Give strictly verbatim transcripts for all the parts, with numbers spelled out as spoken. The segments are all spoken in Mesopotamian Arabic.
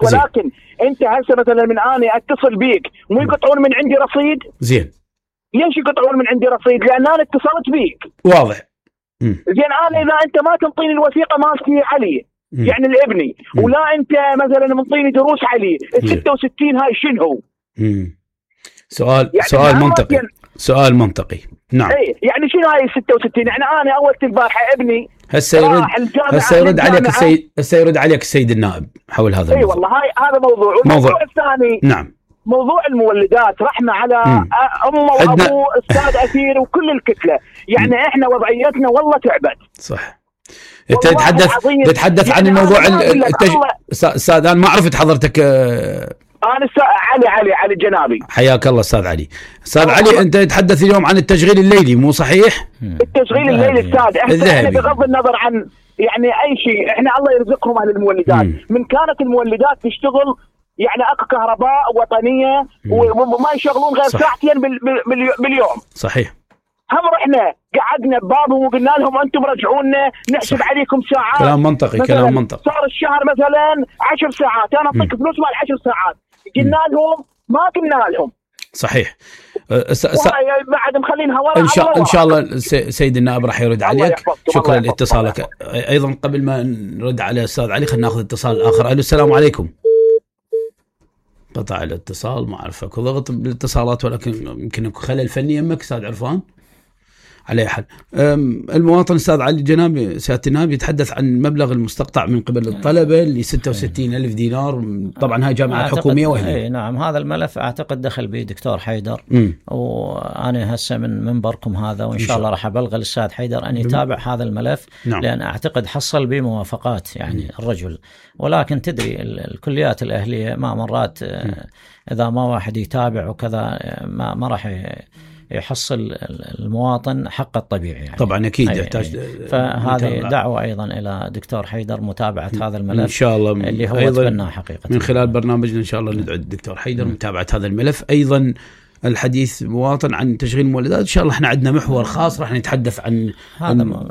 ولكن زين. انت هسه مثلا من اني اتصل بيك مو يقطعون من عندي رصيد؟ زين. ليش يقطعون من عندي رصيد؟ لان انا اتصلت بيك. واضح. مم. زين انا اذا انت ما تنطيني الوثيقه مالتي علي مم. يعني الابني مم. ولا انت مثلا منطيني دروس علي ال ستة وستين هاي شنو؟ امم سؤال يعني سؤال منطقي يعني سؤال منطقي نعم. اي يعني شنو هاي ستة وستين؟ يعني انا اول البارحه ابني هسه يرد هسه يرد عليك السيد هسه يرد عليك السيد النائب حول هذا الموضوع. اي والله هاي هذا موضوع. والموضوع الثاني نعم موضوع المولدات رحمه على امه وابوه استاذ اثير وكل الكتله. يعني مم. احنا وضعيتنا والله تعبت. صح. انت تتحدث تتحدث عن الموضوع التج... استاذ انا ما عرفت حضرتك. انا استاذ علي علي علي الجنابي. حياك الله استاذ علي. استاذ علي انت تتحدث اليوم عن التشغيل الليلي مو صحيح؟ التشغيل الليلي استاذ احنا بغض النظر عن يعني اي شيء احنا الله يرزقهم على المولدات. مم. من كانت المولدات تشتغل يعني اكو كهرباء وطنيه وما يشغلون غير صح. ساعتين باليوم. صحيح. هم رحنا قعدنا ببابهم وقلنا لهم انتم رجعونا نحسب صح. عليكم ساعات. كلام منطقي كلام منطقي. صار الشهر مثلا عشر ساعات انا اعطيك فلوس مال عشر ساعات قلنا لهم ما قلنا لهم. صحيح. س... س... بعد مخلينها ورا. ان شاء ان شاء الله سيد النائب راح يرد عليك. شكرا لاتصالك. ايضا قبل ما نرد على استاذ علي خلينا ناخذ اتصال اخر. الو السلام عليكم. قطع الاتصال ما اعرف اكو ضغط بالاتصالات ولكن يمكن اكو خلل فني يمك استاذ عرفان. على حال المواطن استاذ علي الجنابي سياده النائب يتحدث عن المبلغ المستقطع من قبل الطلبه ل ستة وستين ألف دينار. طبعا هاي جامعه حكوميه وهي. اي نعم هذا الملف اعتقد دخل به دكتور حيدر م. وانا هسه من منبركم هذا وان شاء الله راح ابلغ الاستاذ حيدر ان يتابع م. هذا الملف. نعم. لان اعتقد حصل به موافقات يعني م. الرجل. ولكن تدري الكليات الاهليه ما مرات م. اذا ما واحد يتابع وكذا ما ما راح يحصل المواطن حق الطبيعي يعني. طبعا اكيد يحتاج. فهذه دعوه ايضا الى دكتور حيدر متابعه هذا الملف ان شاء الله اللي هو اتبناه حقيقه من خلال برنامجنا ان شاء الله ندعو الدكتور حيدر متابعه هذا الملف. ايضا الحديث مواطن عن تشغيل المولدات ان شاء الله احنا عندنا محور خاص راح نتحدث عن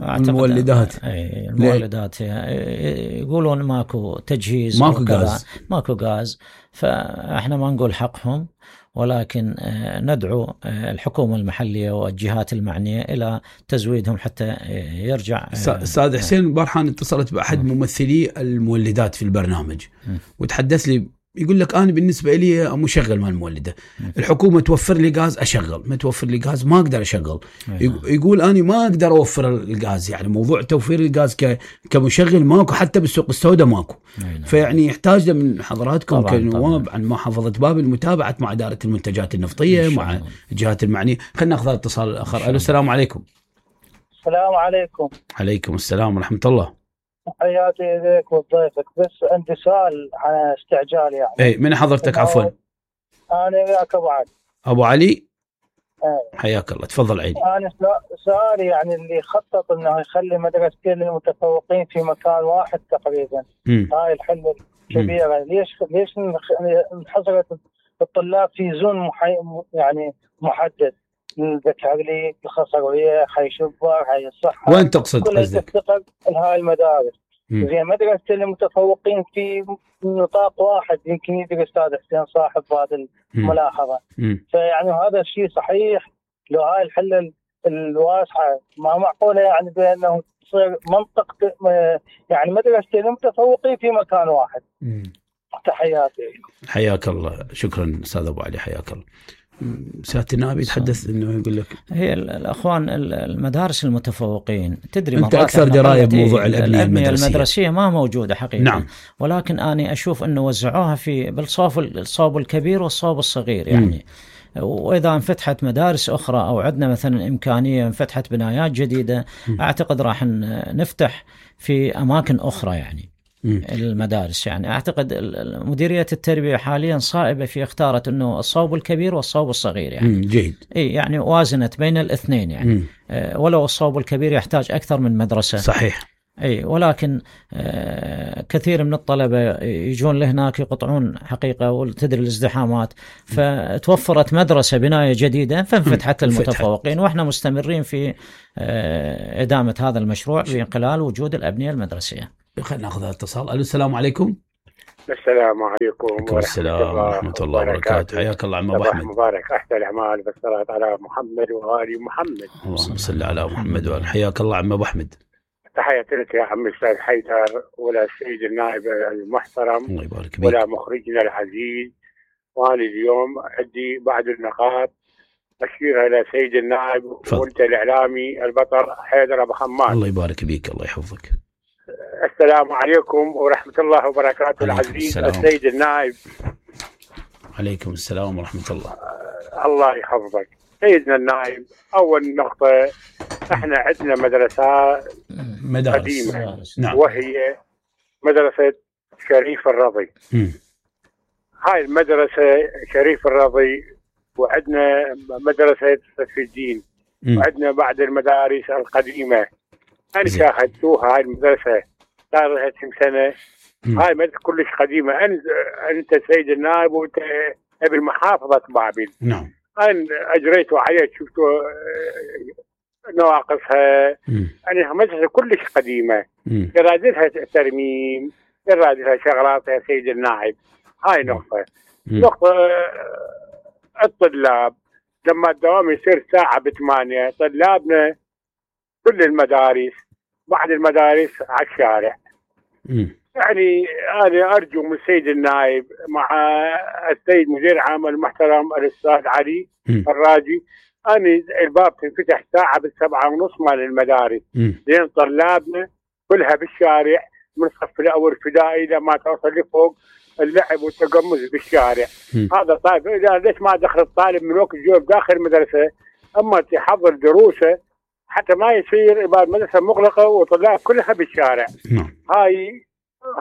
المولدات. اي المولدات يقولون ماكو تجهيز ماكو غاز ماكو غاز فاحنا ما نقول حقهم ولكن ندعو الحكومة المحلية والجهات المعنية إلى تزويدهم حتى يرجع. أستاذ حسين البارحان اتصلت بأحد ممثلي المولدات في البرنامج وتحدث لي يقول لك أنا بالنسبة لي مشغل مال المولدة الحكومة توفر لي غاز أشغل ما توفر لي غاز ما أقدر أشغل. يقول أنا ما أقدر أوفر الغاز يعني موضوع توفير الغاز كمشغل ماكو حتى بالسوق السوداء ماكو. فيعني يحتاج من حضراتكم كنواب عن محافظة بابل متابعة مع إدارة المنتجات النفطية مع الجهات المعنية. خلينا ناخذ اتصال آخر. ألو السلام عليكم. السلام عليكم. عليكم السلام ورحمة الله. حياتي إليك وضيفك بس عندي سؤال عن استعجال يعني. اي من حضرتك عفوا؟ انا وياك ابو علي. ابو علي؟ اي حياك الله تفضل عيني. انا سؤالي يعني اللي خطط انه يخلي مدرستين للمتفوقين في مكان واحد تقريبا. م. هاي الحل الكبيره ليش ليش انحصرت الطلاب في زون محي... يعني محدد البكالوريا الخصوصيه حي شبر حي الصحه. وين تقصد قصدك؟ هاي المدارس زين مدرسة المتفوقين في نطاق واحد يمكن يدرس أستاذ حسين صاحب هذه الملاحظة. فيعني هذا الشيء صحيح لو هاي الحلة الواسعة ما معقولة يعني بأنه تصير منطقة يعني مدرسة المتفوقين في مكان واحد. مم. تحياتي. حياك الله شكرا أستاذ أبو علي حياك الله. سيادة النائب يتحدث انه يقول لك هي الاخوان المدارس المتفوقين تدري انت اكثر درايه بموضوع الابنيه المدرسيه المدرسيه ما موجوده حقيقه. نعم. ولكن انا اشوف انه وزعوها في بالصوب الصوب الكبير والصوب الصغير يعني. م. واذا انفتحت مدارس اخرى او عندنا مثلا امكانيه انفتحت بنايات جديده م. اعتقد راح نفتح في اماكن اخرى يعني. م. المدارس يعني اعتقد مديريه التربيه حاليا صائبه في اختارت انه الصوب الكبير والصوب الصغير يعني. م. جيد. اي يعني وازنت بين الاثنين يعني. أه ولو الصوب الكبير يحتاج اكثر من مدرسه. صحيح. اي ولكن أه كثير من الطلبه يجون لهناك يقطعون حقيقه وتدري الازدحامات فتوفرت مدرسه بنايه جديده فانفتحت للمتفوقين واحنا مستمرين في أه ادامه هذا المشروع من خلال وجود الابنيه المدرسيه. خلينا ناخذ اتصال. الو السلام عليكم. السلام عليكم ورحمة السلام ورحمة الله وبركاته. حياك الله عم ابو احمد. مبارك، احسن الاعمال بالصلاة على محمد وآل محمد. اللهم صل على محمد وآل. حياك الله عم ابو احمد. تحياتي لك يا عم الاستاذ حيدر ولا السيد النائب المحترم، الله يبارك فيك، ولا مخرجنا العزيز. وانا اليوم عندي بعض النقاط اشيرها الى سيد النائب وانت الاعلامي البطل حيدر ابو حماد. الله يبارك فيك، الله يحفظك. السلام عليكم ورحمة الله وبركاته. العزيز السيد النائب. عليكم السلام ورحمة الله. الله يحفظك سيدنا النائب. أول نقطة، احنا عندنا مدرسة مدارس قديمة، نعم، وهي مدرسة شريف الرضي. م. هاي المدرسة شريف الرضي، وعندنا مدرسة سيف الدين، م. وعندنا بعض المدارس القديمة. أنا شاهدتوها هاي المدرسة صار لها كم سنة. م. هاي مدرسة كلش قديمة. أنت أنت سيد النائب وأنت ابن محافظة بابل. نعم. أنا أجريتوا عليها، شفتوا نواقصها. يعني مدرسة كلش قديمة، يراد لها ترميم، يراد لها شغلات يا سيد النائب. هاي نقطة. م. نقطة الطلاب، لما الدوام يصير ساعة بثمانية، طلابنا كل المدارس بعض المدارس على الشارع. م. يعني أنا أرجو من السيد النائب مع السيد مدير عام المحترم الأستاذ علي م. الراجي، أنا الباب تنفتح ساعة بالسبعة ونص مال المدارس، لأن طلابنا كلها بالشارع من الصف الأول ابتدائي لما توصل لفوق اللعب والتقمص بالشارع. م. هذا طيب، إذا ليش ما دخل الطالب من وقت الجوب داخل المدرسة، أما تحضر دروسه حتى ما يصير يبقى المدرسة مغلقة وطلاب كلها بالشارع. م. هاي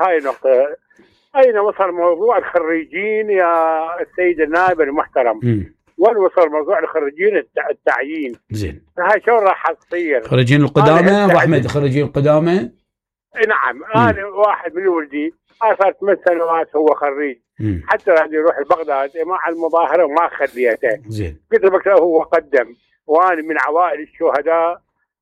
هاي نقطة. أين وصل موضوع الخريجين يا السيد النائب المحترم؟ وين وصل موضوع الخريجين التعيين؟ زين. هاي شو راح تصير؟ خريجين القدامى أبو أحمد، خريجين القدامى؟ نعم. أنا واحد من ولدي صار ثمان سنوات هو خريج. مم. حتى يعني يروح بغداد مع المظاهرة وما خليته. زين. قلت له هو قدم، وأنا من عوائل الشهداء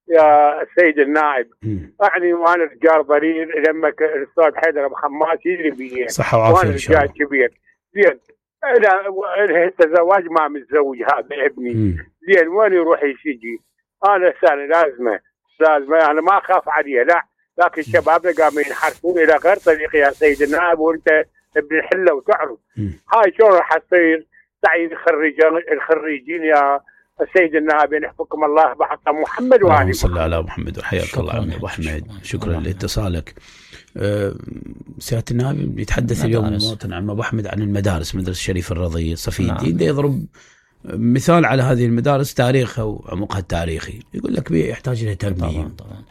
يا السيد النائب. مم. يعني وانا رجال ضرير لما الاستاذ حيدر ابو حماد يجري بي صحه وعافيه ان شاء الله. رجال كبير. زين انا الزواج ما متزوج هذا ابني. زين وين يروح يسجي؟ انا سنه لازمه لازمه انا ما اخاف عليه، لا، لكن شبابنا قاموا ينحرفون الى غير طريق يا سيد النائب، وانت ابن الحله وتعرف. هاي شلون راح تصير تعيين الخريجين الخريجين يا السيد النائب؟ يحفظكم الله بحق محمد وآله. اللهم صل على محمد. وحياك الله عمي ابو احمد، شكرا لاتصالك. أه سياده النائب يتحدث اليوم المواطن عم ابو احمد عن المدارس، مدرسه شريف الرضي، صفي الدين. ده يضرب مثال على هذه المدارس تاريخها وعمقها التاريخي، يقول لك يحتاج الى ترميم. طبعا طبعا.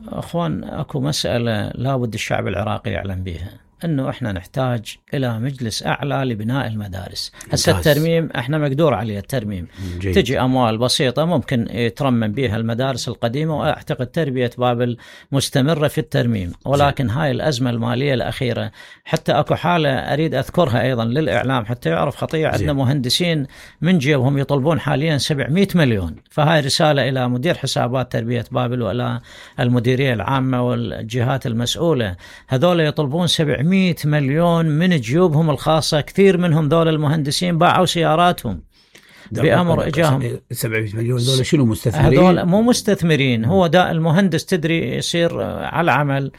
اخوان، اكو مساله لابد الشعب العراقي يعلم بها، انه احنا نحتاج الى مجلس اعلى لبناء المدارس. هسه الترميم احنا مقدور عليه الترميم، جيد. تجي اموال بسيطه ممكن يترمم بها المدارس القديمه، واعتقد تربيه بابل مستمره في الترميم. ولكن جيد. هاي الازمه الماليه الاخيره، حتى اكو حاله اريد اذكرها ايضا للاعلام حتى يعرف خطيره. عندنا مهندسين من جيبهم يطلبون حاليا سبعمئة مليون. فهاي رساله الى مدير حسابات تربيه بابل والى المديريه العامه والجهات المسؤوله، هذول يطلبون سبعمئة مليون من جيوبهم الخاصة. كثير منهم ذول المهندسين باعوا سياراتهم بأمر إجاهم. سبعمئة مليون ذول شنو مستثمرين؟ هذول مو مستثمرين، هو دا المهندس تدري يصير على العمل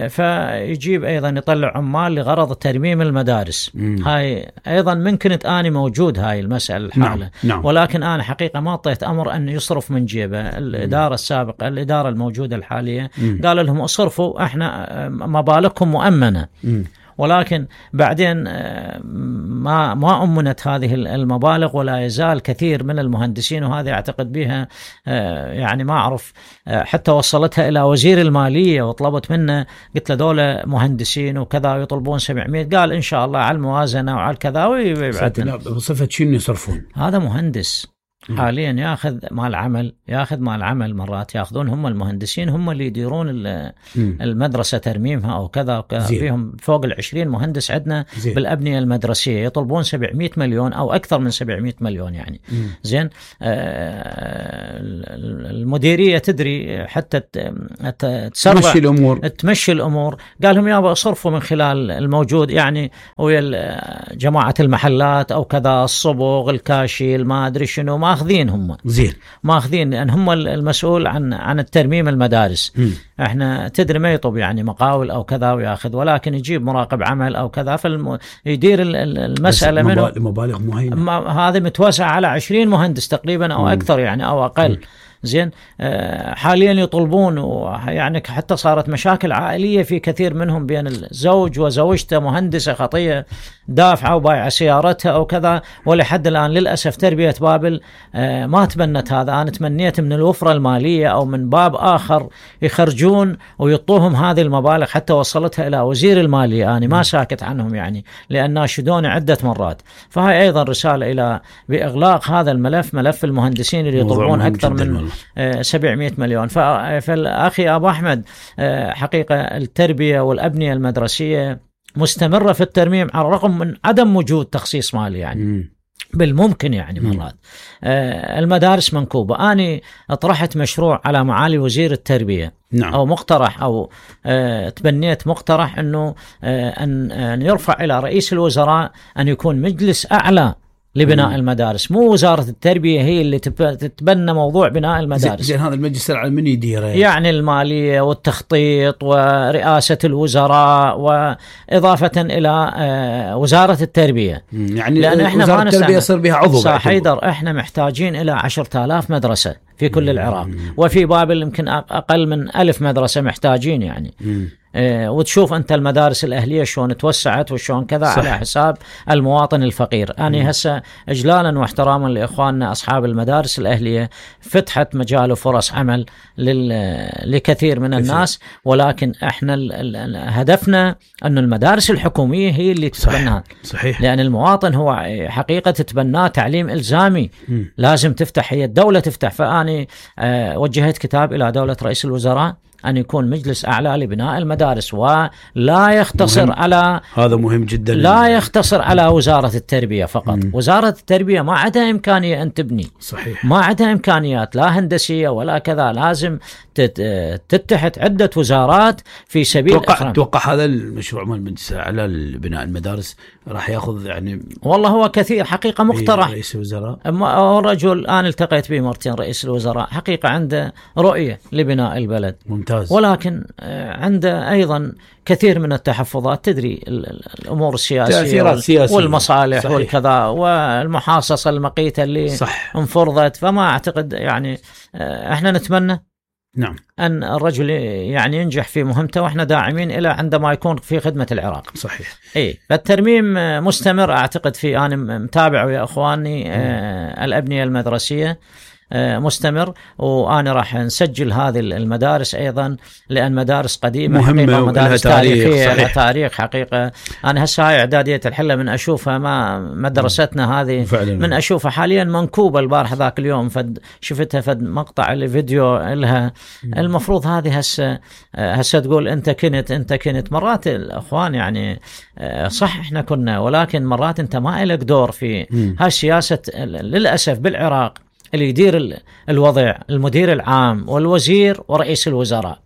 فيجيب أيضا يطلع عمال لغرض ترميم المدارس. مم. هاي أيضا من كنت أنا موجود هاي المسألة الحالة. نعم. نعم. ولكن أنا حقيقة ما أعطيت أمر أن يصرف من جيبه. الإدارة السابقة الإدارة الموجودة الحالية مم. قال لهم اصرفوا، احنا مبالغكم مؤمنة. مم. ولكن بعدين ما ما أمنت هذه المبالغ، ولا يزال كثير من المهندسين، وهذا أعتقد بها يعني ما أعرف، حتى وصلتها إلى وزير المالية وطلبت منه، قلت له دولة مهندسين وكذا يطلبون سبعمئة، قال إن شاء الله على الموازنة وعلى كذا ويبعدنا. بصفة شنو يصرفون؟ هذا مهندس حاليا ياخذ مال عمل ياخذ مال عمل مرات ياخذون هم المهندسين هم اللي يديرون المدرسه ترميمها او كذا وكذا. فيهم فوق العشرين مهندس عندنا زين. بالابنيه المدرسيه يطلبون سبعمية مليون او اكثر من سبعمية مليون يعني. مم. زين. آه المديريه تدري حتى تسرع تمشي الامور تمشي الامور قال لهم يابا اصرفوا من خلال الموجود يعني ويا جماعه المحلات او كذا الصبغ الكاشي ما ادري شنو ما ماخذين هم زين ماخذين لان هم المسؤول عن عن الترميم المدارس. م. احنا تدري ما يطب يعني مقاول او كذا وياخذ ولكن يجيب مراقب عمل او كذا فيدير المساله منه مبالغ مهينه. هذا متوسع على عشرين مهندس تقريبا او م. اكثر يعني او اقل. م. زين. آه حاليا يطلبون يعني حتى صارت مشاكل عائليه في كثير منهم بين الزوج وزوجته مهندسه خطيه دافعه وبايعه سيارتها او كذا ولحد الان للاسف تربيه بابل آه ما تبنت هذا. انا تمنيت من الوفره الماليه او من باب اخر يخرجون ويعطوهم هذه المبالغ حتى وصلتها الى وزير الماليه. انا ما ساكت عنهم يعني لان ناشدوني عده مرات. فهي ايضا رساله الى باغلاق هذا الملف ملف المهندسين اللي يطلبون اكثر من سبعمية مليون. فالأخي أبو أحمد حقيقة التربية والأبنية المدرسية مستمرة في الترميم على الرغم من عدم وجود تخصيص مالي يعني. م. بالممكن يعني مرات. آه المدارس منكوبة. أنا أطرحت مشروع على معالي وزير التربية. نعم. أو مقترح أو آه تبنيت مقترح أنه آه أن, أن يرفع إلى رئيس الوزراء أن يكون مجلس أعلى لبناء مم. المدارس مو وزارة التربية هي اللي تتبنى موضوع بناء المدارس. زين هذا المجلس العلمي من يديره يعني المالية والتخطيط ورئاسة الوزراء وإضافة إلى وزارة التربية. يعني لأن إحنا وزارة التربية يصير بها عضو. صح حيدر إحنا محتاجين إلى عشرة آلاف مدرسة في كل العراق وفي بابل يمكن أقل من ألف مدرسة محتاجين يعني. مم. اه وتشوف أنت المدارس الأهلية شلون توسعت وشلون كذا صح. على حساب المواطن الفقير. أنا هسه إجلالا واحتراما لإخواننا أصحاب المدارس الأهلية فتحت مجال وفرص عمل لكثير من الناس ولكن إحنا هدفنا أن المدارس الحكومية هي اللي تتبناها. صحيح. لأن المواطن هو حقيقة تتبناه تعليم إلزامي. م. لازم تفتح هي الدولة تفتح. فأنا اه وجهت كتاب إلى دولة رئيس الوزراء أن يكون مجلس أعلى لبناء المدارس ولا يختصر مهم. على هذا مهم جدا لا يختصر على وزارة التربية فقط. مم. وزارة التربية ما عندها إمكانية أن تبني. صحيح. ما عندها إمكانيات لا هندسية ولا كذا. لازم تتحد عدة وزارات في سبيل توقع, توقع هذا المشروع مال المجلس على بناء المدارس راح ياخذ يعني والله هو كثير حقيقة مقترح. رئيس الوزراء الرجل أنا التقيت به مرتين رئيس الوزراء حقيقة عنده رؤية لبناء البلد ممتاز. ولكن عنده أيضا كثير من التحفظات. تدري الأمور السياسية والمصالح صحيح. والكذا والمحاصصة المقيتة اللي صح. انفرضت. فما أعتقد يعني احنا نتمنى نعم أن الرجل يعني ينجح في مهمته وإحنا داعمين إلى عندما يكون في خدمة العراق. صحيح. إيه فالترميم مستمر أعتقد في أنا متابع ويا إخواني آه الأبنية المدرسية مستمر وأنا راح نسجل هذه المدارس أيضا لأن مدارس قديمة مهمة ومدارس تاريخية لها تاريخ حقيقة. أنا هسه هاي إعدادية الحلة من أشوفها ما مدرستنا هذه فعلا. من أشوفها حاليا منكوبة البارح ذاك اليوم فد شفتها فد مقطع الفيديو لها. المفروض هذه هسه هسه تقول أنت كنت أنت كنت مرات الأخوان يعني صح إحنا كنا ولكن مرات أنت ما إلك دور في هاي السياسة للأسف بالعراق. اللي يدير الوضع المدير العام والوزير ورئيس الوزراء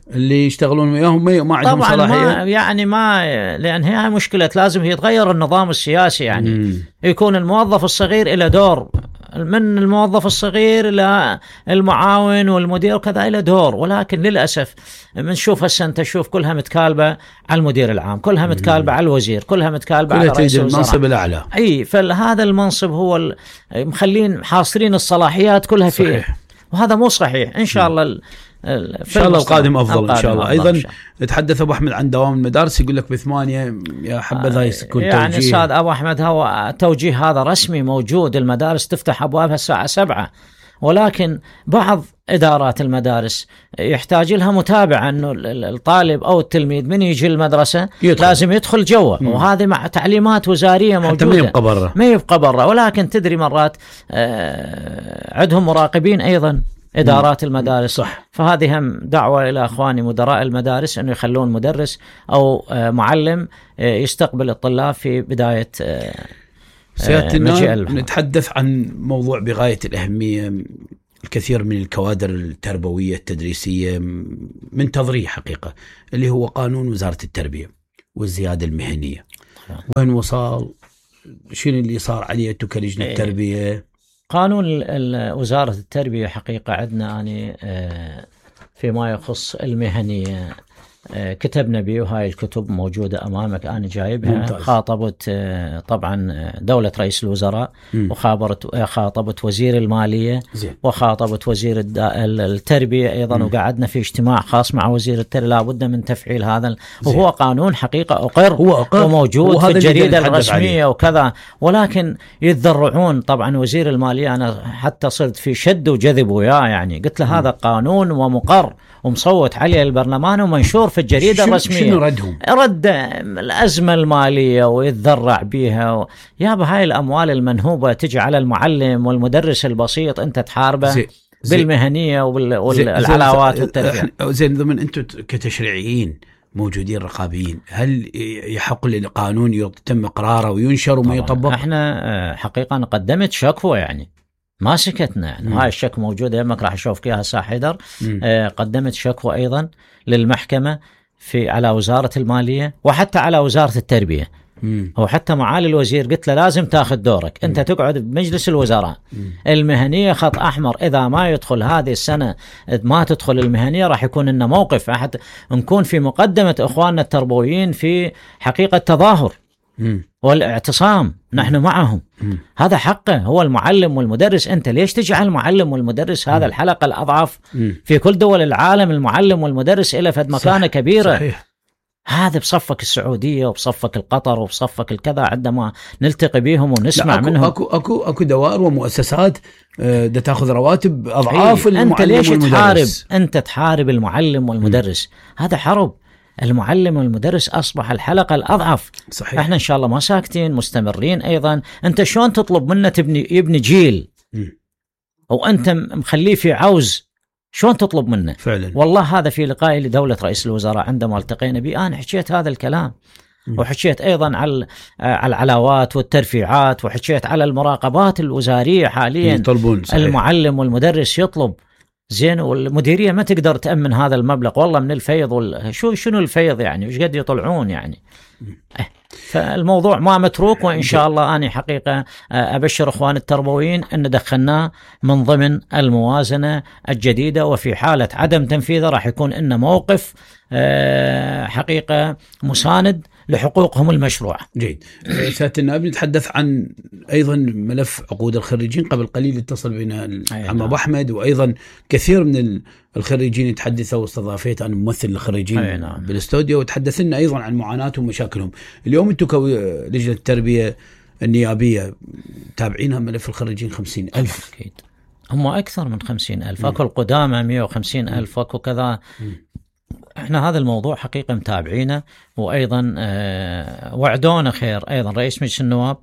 اللي يشتغلون وياهم ما عندهم صلاحية. طبعا ما يعني ما لأن هي مشكلة لازم يتغير النظام السياسي يعني. مم. يكون الموظف الصغير إلى دور من الموظف الصغير إلى المعاون والمدير وكذا إلى دور ولكن للأسف بنشوف هسه أنت تشوف كلها متكالبة على المدير العام كلها متكالبة على الوزير كلها متكالبة على رئيس الوزراء. المنصب الأعلى. أي فهذا المنصب هو مخلين حاصرين الصلاحيات كلها فيه. صحيح. وهذا مو صحيح. إن شاء الله إن شاء الله القادم أفضل إن شاء الله. أيضا تحدث أبو أحمد عن دوام المدارس يقول لك بثمانية يا حبذا يكون توجيه. يعني أستاذ أبو أحمد هو توجيه هذا رسمي موجود. المدارس تفتح أبوابها الساعة سبعة ولكن بعض إدارات المدارس يحتاج لها متابعة، أنه الطالب أو التلميذ من يجي المدرسة يدخل. لازم يدخل جوا، وهذه مع تعليمات وزارية موجودة، ما يبقى برا ما يبقى برا. ولكن تدري مرات عندهم مراقبين أيضا إدارات المدارس، صح. فهذه هم دعوة إلى أخواني مدراء المدارس أنه يخلون مدرس أو معلم يستقبل الطلاب في بداية سيادة النائب. نتحدث عن موضوع بغاية الأهمية. الكثير من الكوادر التربوية التدريسية من تضريح حقيقة، اللي هو قانون وزارة التربية والزيادة المهنية. وين وصل؟ شنو اللي صار عليه أنتو كلجنة التربية؟ قانون وزارة التربية حقيقة عندنا أنا فيما يخص المهنية كتبنا به، وهاي الكتب موجودة أمامك أنا جايبها. ممتاز. خاطبت طبعا دولة رئيس الوزراء، م. وخابرت خاطبت وزير المالية، زي. وخاطبت وزير التربية أيضا، م. وقعدنا في اجتماع خاص مع وزير التربية. لابد من تفعيل هذا، وهو قانون حقيقة أقر, هو أقر. وموجود في الجريدة الرسمية عليه. وكذا، ولكن يتذرعون. طبعا وزير المالية أنا حتى صرت في شد وجذب وياه، يعني قلت له م. هذا قانون ومقر ومصوت عليه البرلمان ومنشور في الجريدة الرسمية. شنو ردهم؟ رد الأزمة المالية ويتذرع بيها و... يا بهاي الأموال المنهوبة تجي على المعلم والمدرس البسيط، أنت تحاربه زي زي بالمهنية وبال... والعلاوات والترفيه. زين ضمن أنتم كتشريعيين موجودين رقابيين، هل يحق للقانون يتم إقراره وينشر وما يطبق؟ احنا حقيقة قدمت شكوى، يعني ما سكتنا، يعني هاي الشكوى موجودة يمك راح أشوفك إياها ساعة حيدر. آه قدمت شكوى أيضا للمحكمة في على وزارة المالية وحتى على وزارة التربية. مم. هو حتى معالي الوزير قلت له لازم تاخذ دورك، أنت مم. تقعد بمجلس الوزراء. مم. المهنية خط أحمر، إذا ما يدخل هذه السنة ما تدخل المهنية راح يكون لنا موقف، حتى نكون في مقدمة إخواننا التربويين في حقيقة تظاهر مم. والاعتصام. نحن معهم. مم. هذا حقه، هو المعلم والمدرس. أنت ليش تجعل المعلم والمدرس هذا الحلقة الأضعف؟ مم. في كل دول العالم المعلم والمدرس إلى فد مكانة كبيرة. صحيح. هذا بصفك السعودية وبصفك القطر وبصفك الكذا، عندما نلتقي بهم ونسمع أكو منهم. أكو أكو أكو دوائر ومؤسسات ده تأخذ رواتب أضعاف المعلم أنت ليش والمدرس. تحارب؟ أنت تحارب المعلم والمدرس. مم. هذا حرب. المعلم والمدرس أصبح الحلقة الأضعف. صحيح. احنا إن شاء الله ما ساكتين، مستمرين أيضا. أنت شلون تطلب منا تبني يبني جيل مم. وأنت مخليه في عوز؟ شلون تطلب منه؟ فعلا. والله هذا في لقائي لدولة رئيس الوزراء عندما التقينا به أنا حكيت هذا الكلام. مم. وحكيت أيضا على على العلاوات والترفيعات، وحكيت على المراقبات الوزارية حاليا. يطلبون. صحيح. المعلم والمدرس يطلب زين، والمديرية ما تقدر تأمن هذا المبلغ والله من الفيض وال... شو شنو الفيض يعني، وش قد يطلعون يعني. اه. فالموضوع ما متروك، وإن شاء الله أنا حقيقة أبشر إخوان التربويين أن دخلناه من ضمن الموازنة الجديدة، وفي حالة عدم تنفيذه راح يكون إنه موقف حقيقة مساند لحقوقهم المشروعة. جيد. سيادة النائب، نتحدث عن أيضا ملف عقود الخريجين. قبل قليل اتصل بنا العم أبو أحمد، وأيضا كثير من الخريجين يتحدثوا، واستضافيت أنا ممثل الخريجين بالاستوديو، وتحدثنا أيضا عن معاناتهم ومشاكلهم. اليوم أنتم كلجنة التربية النيابية تابعينها ملف الخريجين خمسين ألف. أكيد هم أكثر من خمسين ألف، أكو القدامى مئة وخمسين ألف، أكو كذا. احنا هذا الموضوع حقيقة متابعينه، وأيضا آه وعدونا خير. أيضا رئيس مجلس النواب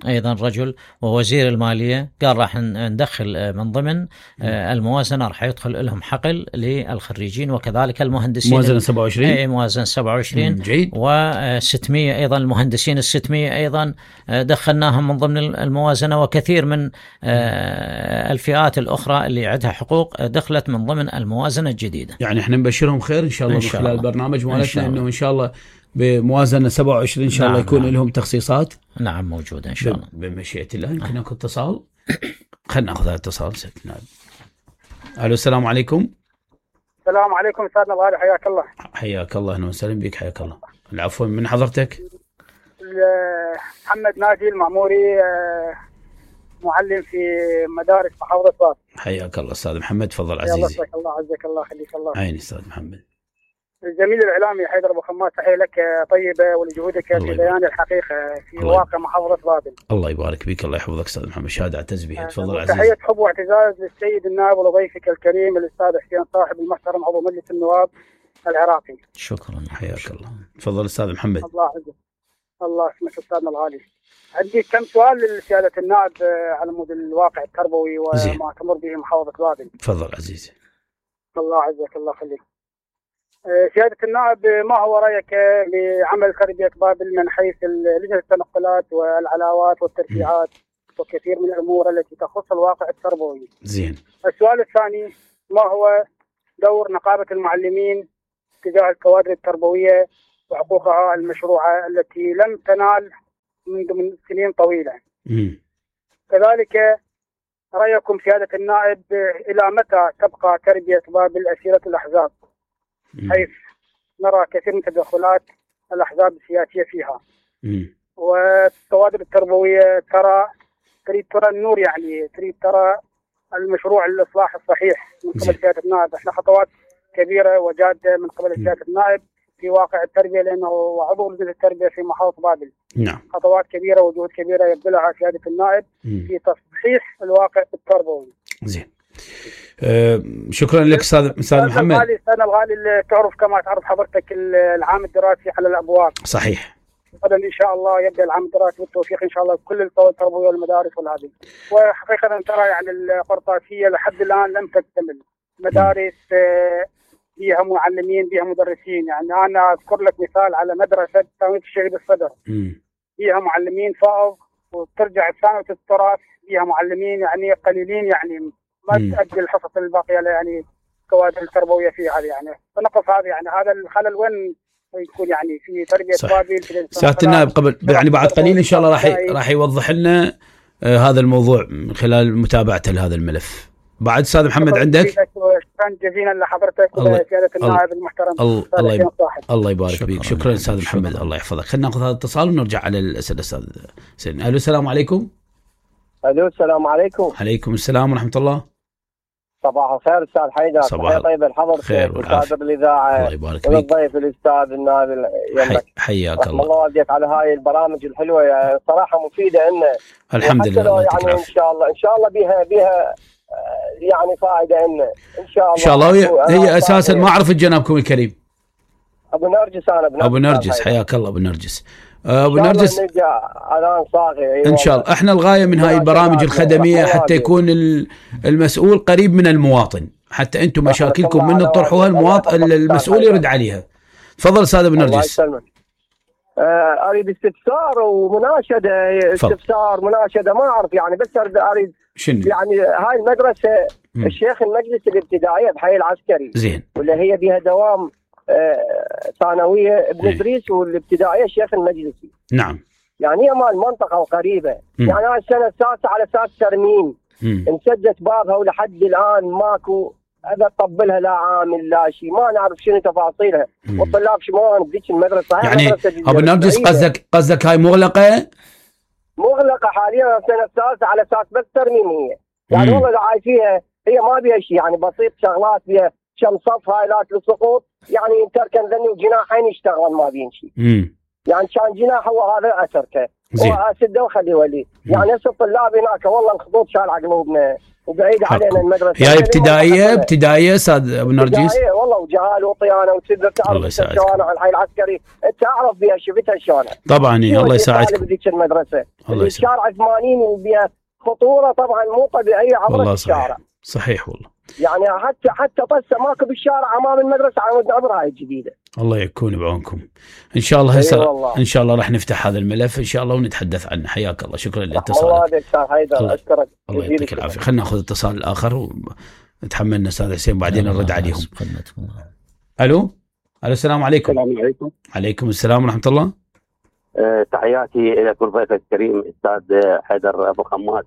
أيضا رجل ووزير المالية قال راح ندخل من ضمن آه الموازنة، راح يدخل لهم حقل للخريجين وكذلك المهندسين. موازنة سبعة وعشرين. اي موازنة سبعة وعشرين. جيد. وستمية أيضا المهندسين الستمية أيضا دخلناهم من ضمن الموازنة، وكثير من آه الفئات الأخرى اللي عندها حقوق دخلت من ضمن الموازنة الجديدة. يعني احنا نبشرهم خير إن شاء الله من خلال البرنامج مالتنا، إنه إن شاء الله بموازنة سبعة وعشرين إن شاء الله. نعم. يكون نعم. لهم تخصيصات. نعم موجودة إن شاء الله بمشيئة الله. يمكن أكو اتصال، خلنا نأخذ هذا الاتصال. سيدنا ألو، السلام عليكم. السلام عليكم سيدنا الغالي، حياك الله. حياك الله، أهلا وسهلا بك. حياك الله. العفو، من حضرتك؟ محمد ناجي المعموري، معلم في مدارس محافظة فاس. حياك الله أستاذ محمد، تفضل عزيزي. الله يسعدك، الله عزك، الله خليك. الله عيني أستاذ محمد. الزميل الاعلامي حيدر ابو خماس، تحيه لك طيبه ولجهودك في بيان الحقيقه في واقع محافظه بابل. الله يبارك بك، الله يحفظك استاذ محمد، شهاده اعتز بها. تفضل عزيز. تحيه حب واعتزاز للسيد النائب ولضيفك الكريم الاستاذ حسين صاحب المحترم عضو مجلس النواب العراقي. شكرا، حياك الله. تفضل استاذ محمد. الله يعزك. الله يسلمك استاذنا الغالي. عندي كم سؤال لسياده النائب على مود الواقع التربوي وما تمر به محافظه بابل. تفضل عزيزي. الله يعزك، الله يخليك. سيادة النائب، ما هو رأيك بعمل تربية بابل من حيث لجنة التنقلات والعلاوات والترفيعات وكثير من الأمور التي تخص الواقع التربوي؟ زين. السؤال الثاني، ما هو دور نقابة المعلمين تجاه الكوادر التربوية وحقوقها المشروعة التي لم تنال منذ من سنين طويلة؟ م. كذلك رأيكم سيادة النائب، إلى متى تبقى تربية بابل أسيرة الأحزاب، حيث نرى كثير من تدخلات الأحزاب السياسية فيها؟ م. والكوادر التربوية ترى تريد ترى النور، يعني تريد ترى المشروع الإصلاح الصحيح من قبل سيادة النائب. احنا خطوات كبيرة وجادة من قبل سيادة النائب في واقع التربية، لأنه عضو لجنة التربية في محافظة بابل. نعم. خطوات كبيرة وجهود كبيرة يبذلها سيادة النائب م. في تصحيح الواقع التربوي. زين. أه شكرا لك استاذ استاذ محمد. الغالي السنه الغالي تعرف كما تعرف حضرتك العام الدراسي على الابواب. صحيح. غدا ان شاء الله يبدا العام الدراسي بالتوفيق ان شاء الله بكل القوى التربويه والمدارس والهذه. وحقيقه ترى يعني القرطاسيه لحد الان لم تكتمل. مدارس فيها معلمين فيها مدرسين، يعني انا اذكر لك مثال على مدرسه ثانويه الشهيد الصدر. فيها معلمين فائض، وترجع ثانويه التراث فيها معلمين يعني قليلين، يعني ما تؤدي الحصص الباقيه يعني الكوادر التربويه فيها هذه، يعني فنقص هذا، يعني هذا الخلل وين يكون يعني في تربيه بابل. سياده النائب قبل يعني بعد قليل ان شاء الله راح راح يوضح لنا آه هذا الموضوع من خلال متابعته لهذا الملف. بعد استاذ محمد عندك؟ شكرا جزيلا لحضرتك وسياده النائب المحترم. الله الله, الله يبارك فيك. شكرا استاذ محمد، شكرا. الله يحفظك. خلينا ناخذ هذا الاتصال ونرجع على الاسئله استاذ سين. الو السلام عليكم. الو السلام عليكم. عليكم السلام ورحمه الله. صباح الخير استاذ حيدر. صباح طيب الحضر خير والعافيه الاذاعه. الله يبارك فيك. والضيف الاستاذ النائب يمك. حياك الله. الله والديك على هاي البرامج الحلوه، يعني صراحه مفيده لنا. الحمد لله. يعني ان شاء الله ان شاء الله بها بها يعني فائده لنا ان شاء الله. ان شاء الله. هي اساسا ما اعرف جنابكم الكريم. ابو نرجس. انا ابو نرجس. ابو نرجس حياك الله ابو نرجس. ابو نرجس ان شاء الله. احنا الغايه من هاي البرامج الخدميه حتى يكون المسؤول قريب من المواطن، حتى انتم مشاكلكم من تطرحوها المواطن المسؤول يرد عليها. تفضل استاذ ابو نرجس. اريد استفسار ومناشده. استفسار مناشده ما اعرف يعني، بس اريد شنو يعني هاي المدرسه م. الشيخ المجلس الابتدائيه بحي العسكري، زين، ولا هي بها دوام ثانويه ابن ادريس والابتدائيه الشيخ المجلسي. نعم. يعني هي مال منطقه وقريبه. م. يعني هاي السنه السادسه على اساس ترميم انسدت بابها ولحد الان ماكو هذا طبلها لا عامل لا شيء، ما نعرف شنو تفاصيلها. والطلاب شلون بديك المدرسه يعني ابو نرجس قصدك قصدك هاي مغلقه؟ مغلقه حاليا السنه الثالثه على اساس بس ترميم هي. يعني والله اللي عايش فيها هي ما بيها شيء، يعني بسيط شغلات بيها كم صف هايلات للسقوط، يعني تركن ذني وجناحين يشتغل ما بين شيء. يعني كان جناح هو هذا اتركه واسده وخليه ولي. يعني هسه الطلاب هناك والله الخطوط شال على قلوبنا وبعيد علينا المدرسه. هي ابتدائيه ابتدائيه استاذ ابو نرجس؟ ابتدائيه والله، وجهال وطيانه وتقدر تعرف الشوارع الحي العسكري تعرف بها شفتها شلون. طبعا الله يساعدكم. بديك المدرسه الشارع ثمانين وبها خطوره طبعا مو طبيعيه عبر الشارع. صحيح والله. يعني حتى حتى طسه ماكو بالشارع امام المدرسه عبر هاي الجديده. الله يكون بعونكم. ان شاء الله هسه ان شاء الله راح نفتح هذا الملف ان شاء الله ونتحدث عنه. حياك الله. شكرا لاتصالك. الله يديك استاذ حيدر. اشكرك. الله يعطيك العافيه. خلينا ناخذ الاتصال الاخر ونتحملنا استاذ حسين بعدين نرد عليهم. الو الو السلام عليكم. السلام عليكم. عليكم السلام ورحمه الله. أه تحياتي الى كل ضيفك الكريم استاذ حيدر ابو خماس،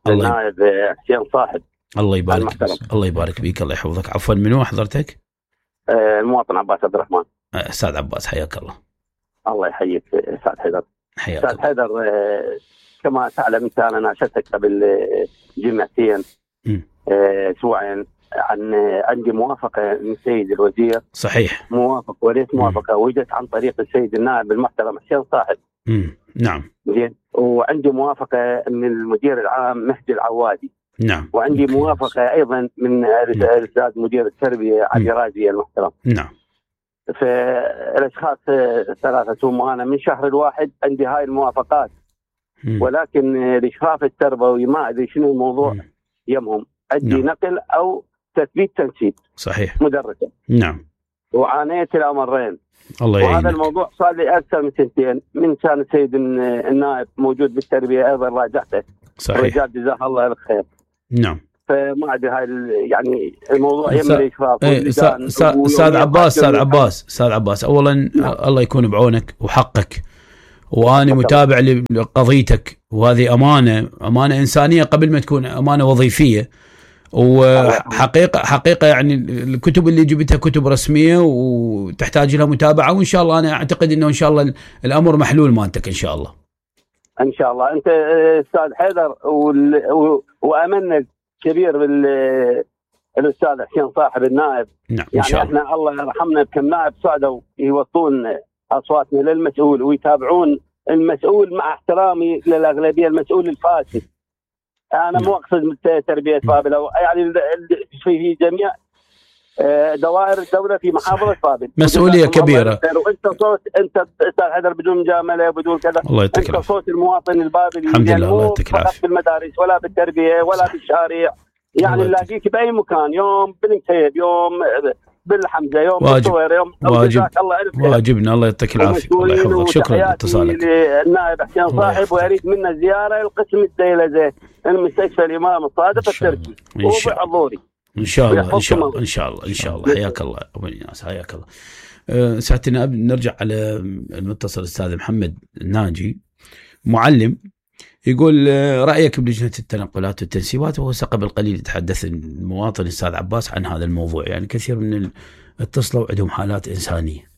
النائب حسين صاحب. الله يبارك فيك. الله يبارك فيك. الله يحفظك. عفوا منو حضرتك؟ أه المواطن عباس عبد الرحمن. استاذ عباس حياك الله. الله يحييك استاذ حيدر. حياك استاذ حيدر أه كما تعلم انت انا ناشدتك قبل جمعتين اسبوعين عن عندي موافقة من السيد الوزير. صحيح. موافق وليس موافقة وجدت عن طريق السيد النائب المحترم حسين صاحب. امم نعم. زين. وعندي موافقة من المدير العام مهدي العوادي. نعم. وعندي موافقة أيضا من الأستاذ مدير التربية علي رازي المحترم. نعم. فالأشخاص ثلاثة ثم أنا من شهر الواحد عندي هاي الموافقات. مم. ولكن الإشراف التربوي ما أدري شنو الموضوع مم. يمهم عندي نعم. نقل أو تثبيت تنسيب. صحيح. مدرسة. نعم. وعانيت الأمرين. الله يعينك. وهذا الموضوع صار لي أكثر من سنتين من كان السيد النائب موجود بالتربية أيضا راجعته. صحيح. رجال جزاه الله الخير. نعم. فما أدري هاي يعني الموضوع يم الإشراف. أستاذ عباس أستاذ عباس أستاذ عباس أولا نعم. الله يكون بعونك وحقك، وأنا متابع لقضيتك، وهذه أمانة أمانة إنسانية قبل ما تكون أمانة وظيفية. وحقيقة حقيقة يعني الكتب اللي جبتها كتب رسمية وتحتاج لها متابعة، وإن شاء الله أنا أعتقد إنه إن شاء الله الأمر محلول مالتك إن شاء الله. إن شاء الله. أنت أستاذ حيدر وأمنك كبير بالأستاذ حسين صاحب النائب. نعم. يعني إحنا الله يرحمنا بكم نائب صعدوا يوصلون أصواتنا للمسؤول ويتابعون المسؤول، مع احترامي للأغلبية المسؤول الفاسد. أنا مو أقصد تربية بابل، يعني في جميع دوائر الدولة في محافظة بابل مسؤولية كبيرة. وأنت صوت أنت أستاذ حيدر بدون مجاملة بدون كذا، أنت صوت المواطن البابلي. الحمد لله. الله يعطيك العافية. بالمدارس ولا بالتربية ولا بالشارع، يعني نلاقيك بأي مكان، يوم بالمكتب، يوم بالحمزة، يوم بالصوير، يوم واجب. الله واجبنا. الله يعطيك العافية. الله يحفظك. شكرا لاتصالك. النائب حسين صاحب، ويريد منا زيارة لقسم الديلزة المستشفى الإمام الصادق التركي وبحضوري إن شاء الله. إن شاء الله إن شاء الله إن شاء الله. حياك الله أبو الناس، حياك الله. أه ساعتنا نرجع على المتصل الأستاذ محمد الناجي معلم، يقول رأيك بلجنة التنقلات والتنسيبات. وهو قبل قليل يتحدث المواطن الأستاذ عباس عن هذا الموضوع، يعني كثير من اتصلوا عندهم حالات إنسانية.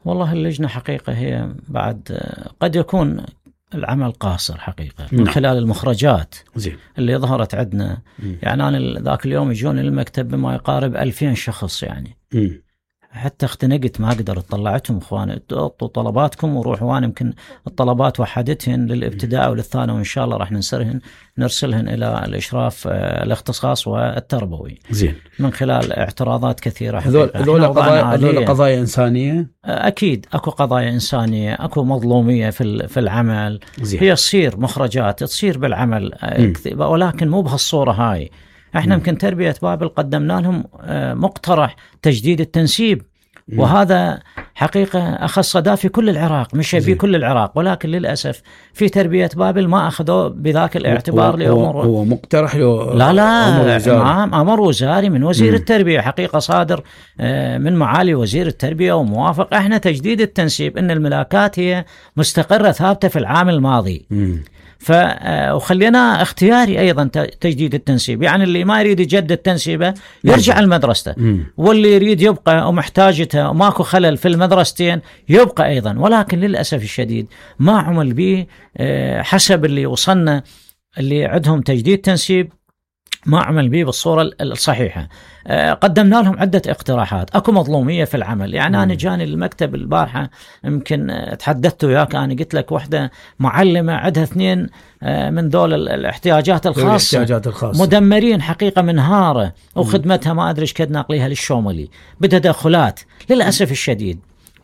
والله اللجنة حقيقة هي بعد قد يكون العمل قاصر حقيقة من نعم. خلال المخرجات زين. اللي ظهرت عندنا. م. يعني أنا ذاك اليوم يجون المكتب بما يقارب ألفين شخص، يعني م. حتى اختنقت ما أقدر اطلعتهم اخواني اطلبوا طلباتكم وروحوا. وانا يمكن الطلبات وحدتهن للابتداء وللثانوي، وان شاء الله راح ننسرهن نرسلهن الى الاشراف الاختصاص والتربوي زين من خلال اعتراضات كثيره. هذول هذول قضايا هذول قضايا انسانيه. اكيد اكو قضايا انسانيه، اكو مظلوميه في في العمل زين. هي تصير مخرجات تصير بالعمل م. ولكن مو بهالصوره هاي. احنا يمكن تربية بابل قدمنا لهم مقترح تجديد التنسيب، وهذا حقيقة أخذ صدى في كل العراق، مش في كل العراق، ولكن للأسف في تربية بابل ما أخذوا بذاك الاعتبار لأمور. هو مقترح له لا لا أمر, أمر وزاري من وزير م. التربية حقيقة صادر من معالي وزير التربية وموافق. احنا تجديد التنسيب إن الملاكات هي مستقرة ثابتة في العام الماضي م. ف وخلينا اختياري ايضا تجديد التنسيب، يعني اللي ما يريد يجدد تنسيبه يرجع لمدرسته، واللي يريد يبقى ومحتاجته وماكو خلل في المدرستين يبقى ايضا. ولكن للاسف الشديد ما عمل به حسب اللي وصلنا اللي عندهم تجديد تنسيب، ما عمل به بالصورة الصحيحة. قدمنا لهم عدة اقتراحات، اكو مظلومية في العمل. يعني مم. انا جاني المكتب البارحة يمكن تحدثت وياك، انا قلت لك وحدة معلمة عندها اثنين من دول الاحتياجات الخاصة, الاحتياجات الخاصة مدمرين حقيقة منهارة، وخدمتها ما ادري ايش كد ناقليها للشوملي بتدخلات. للأسف الشديد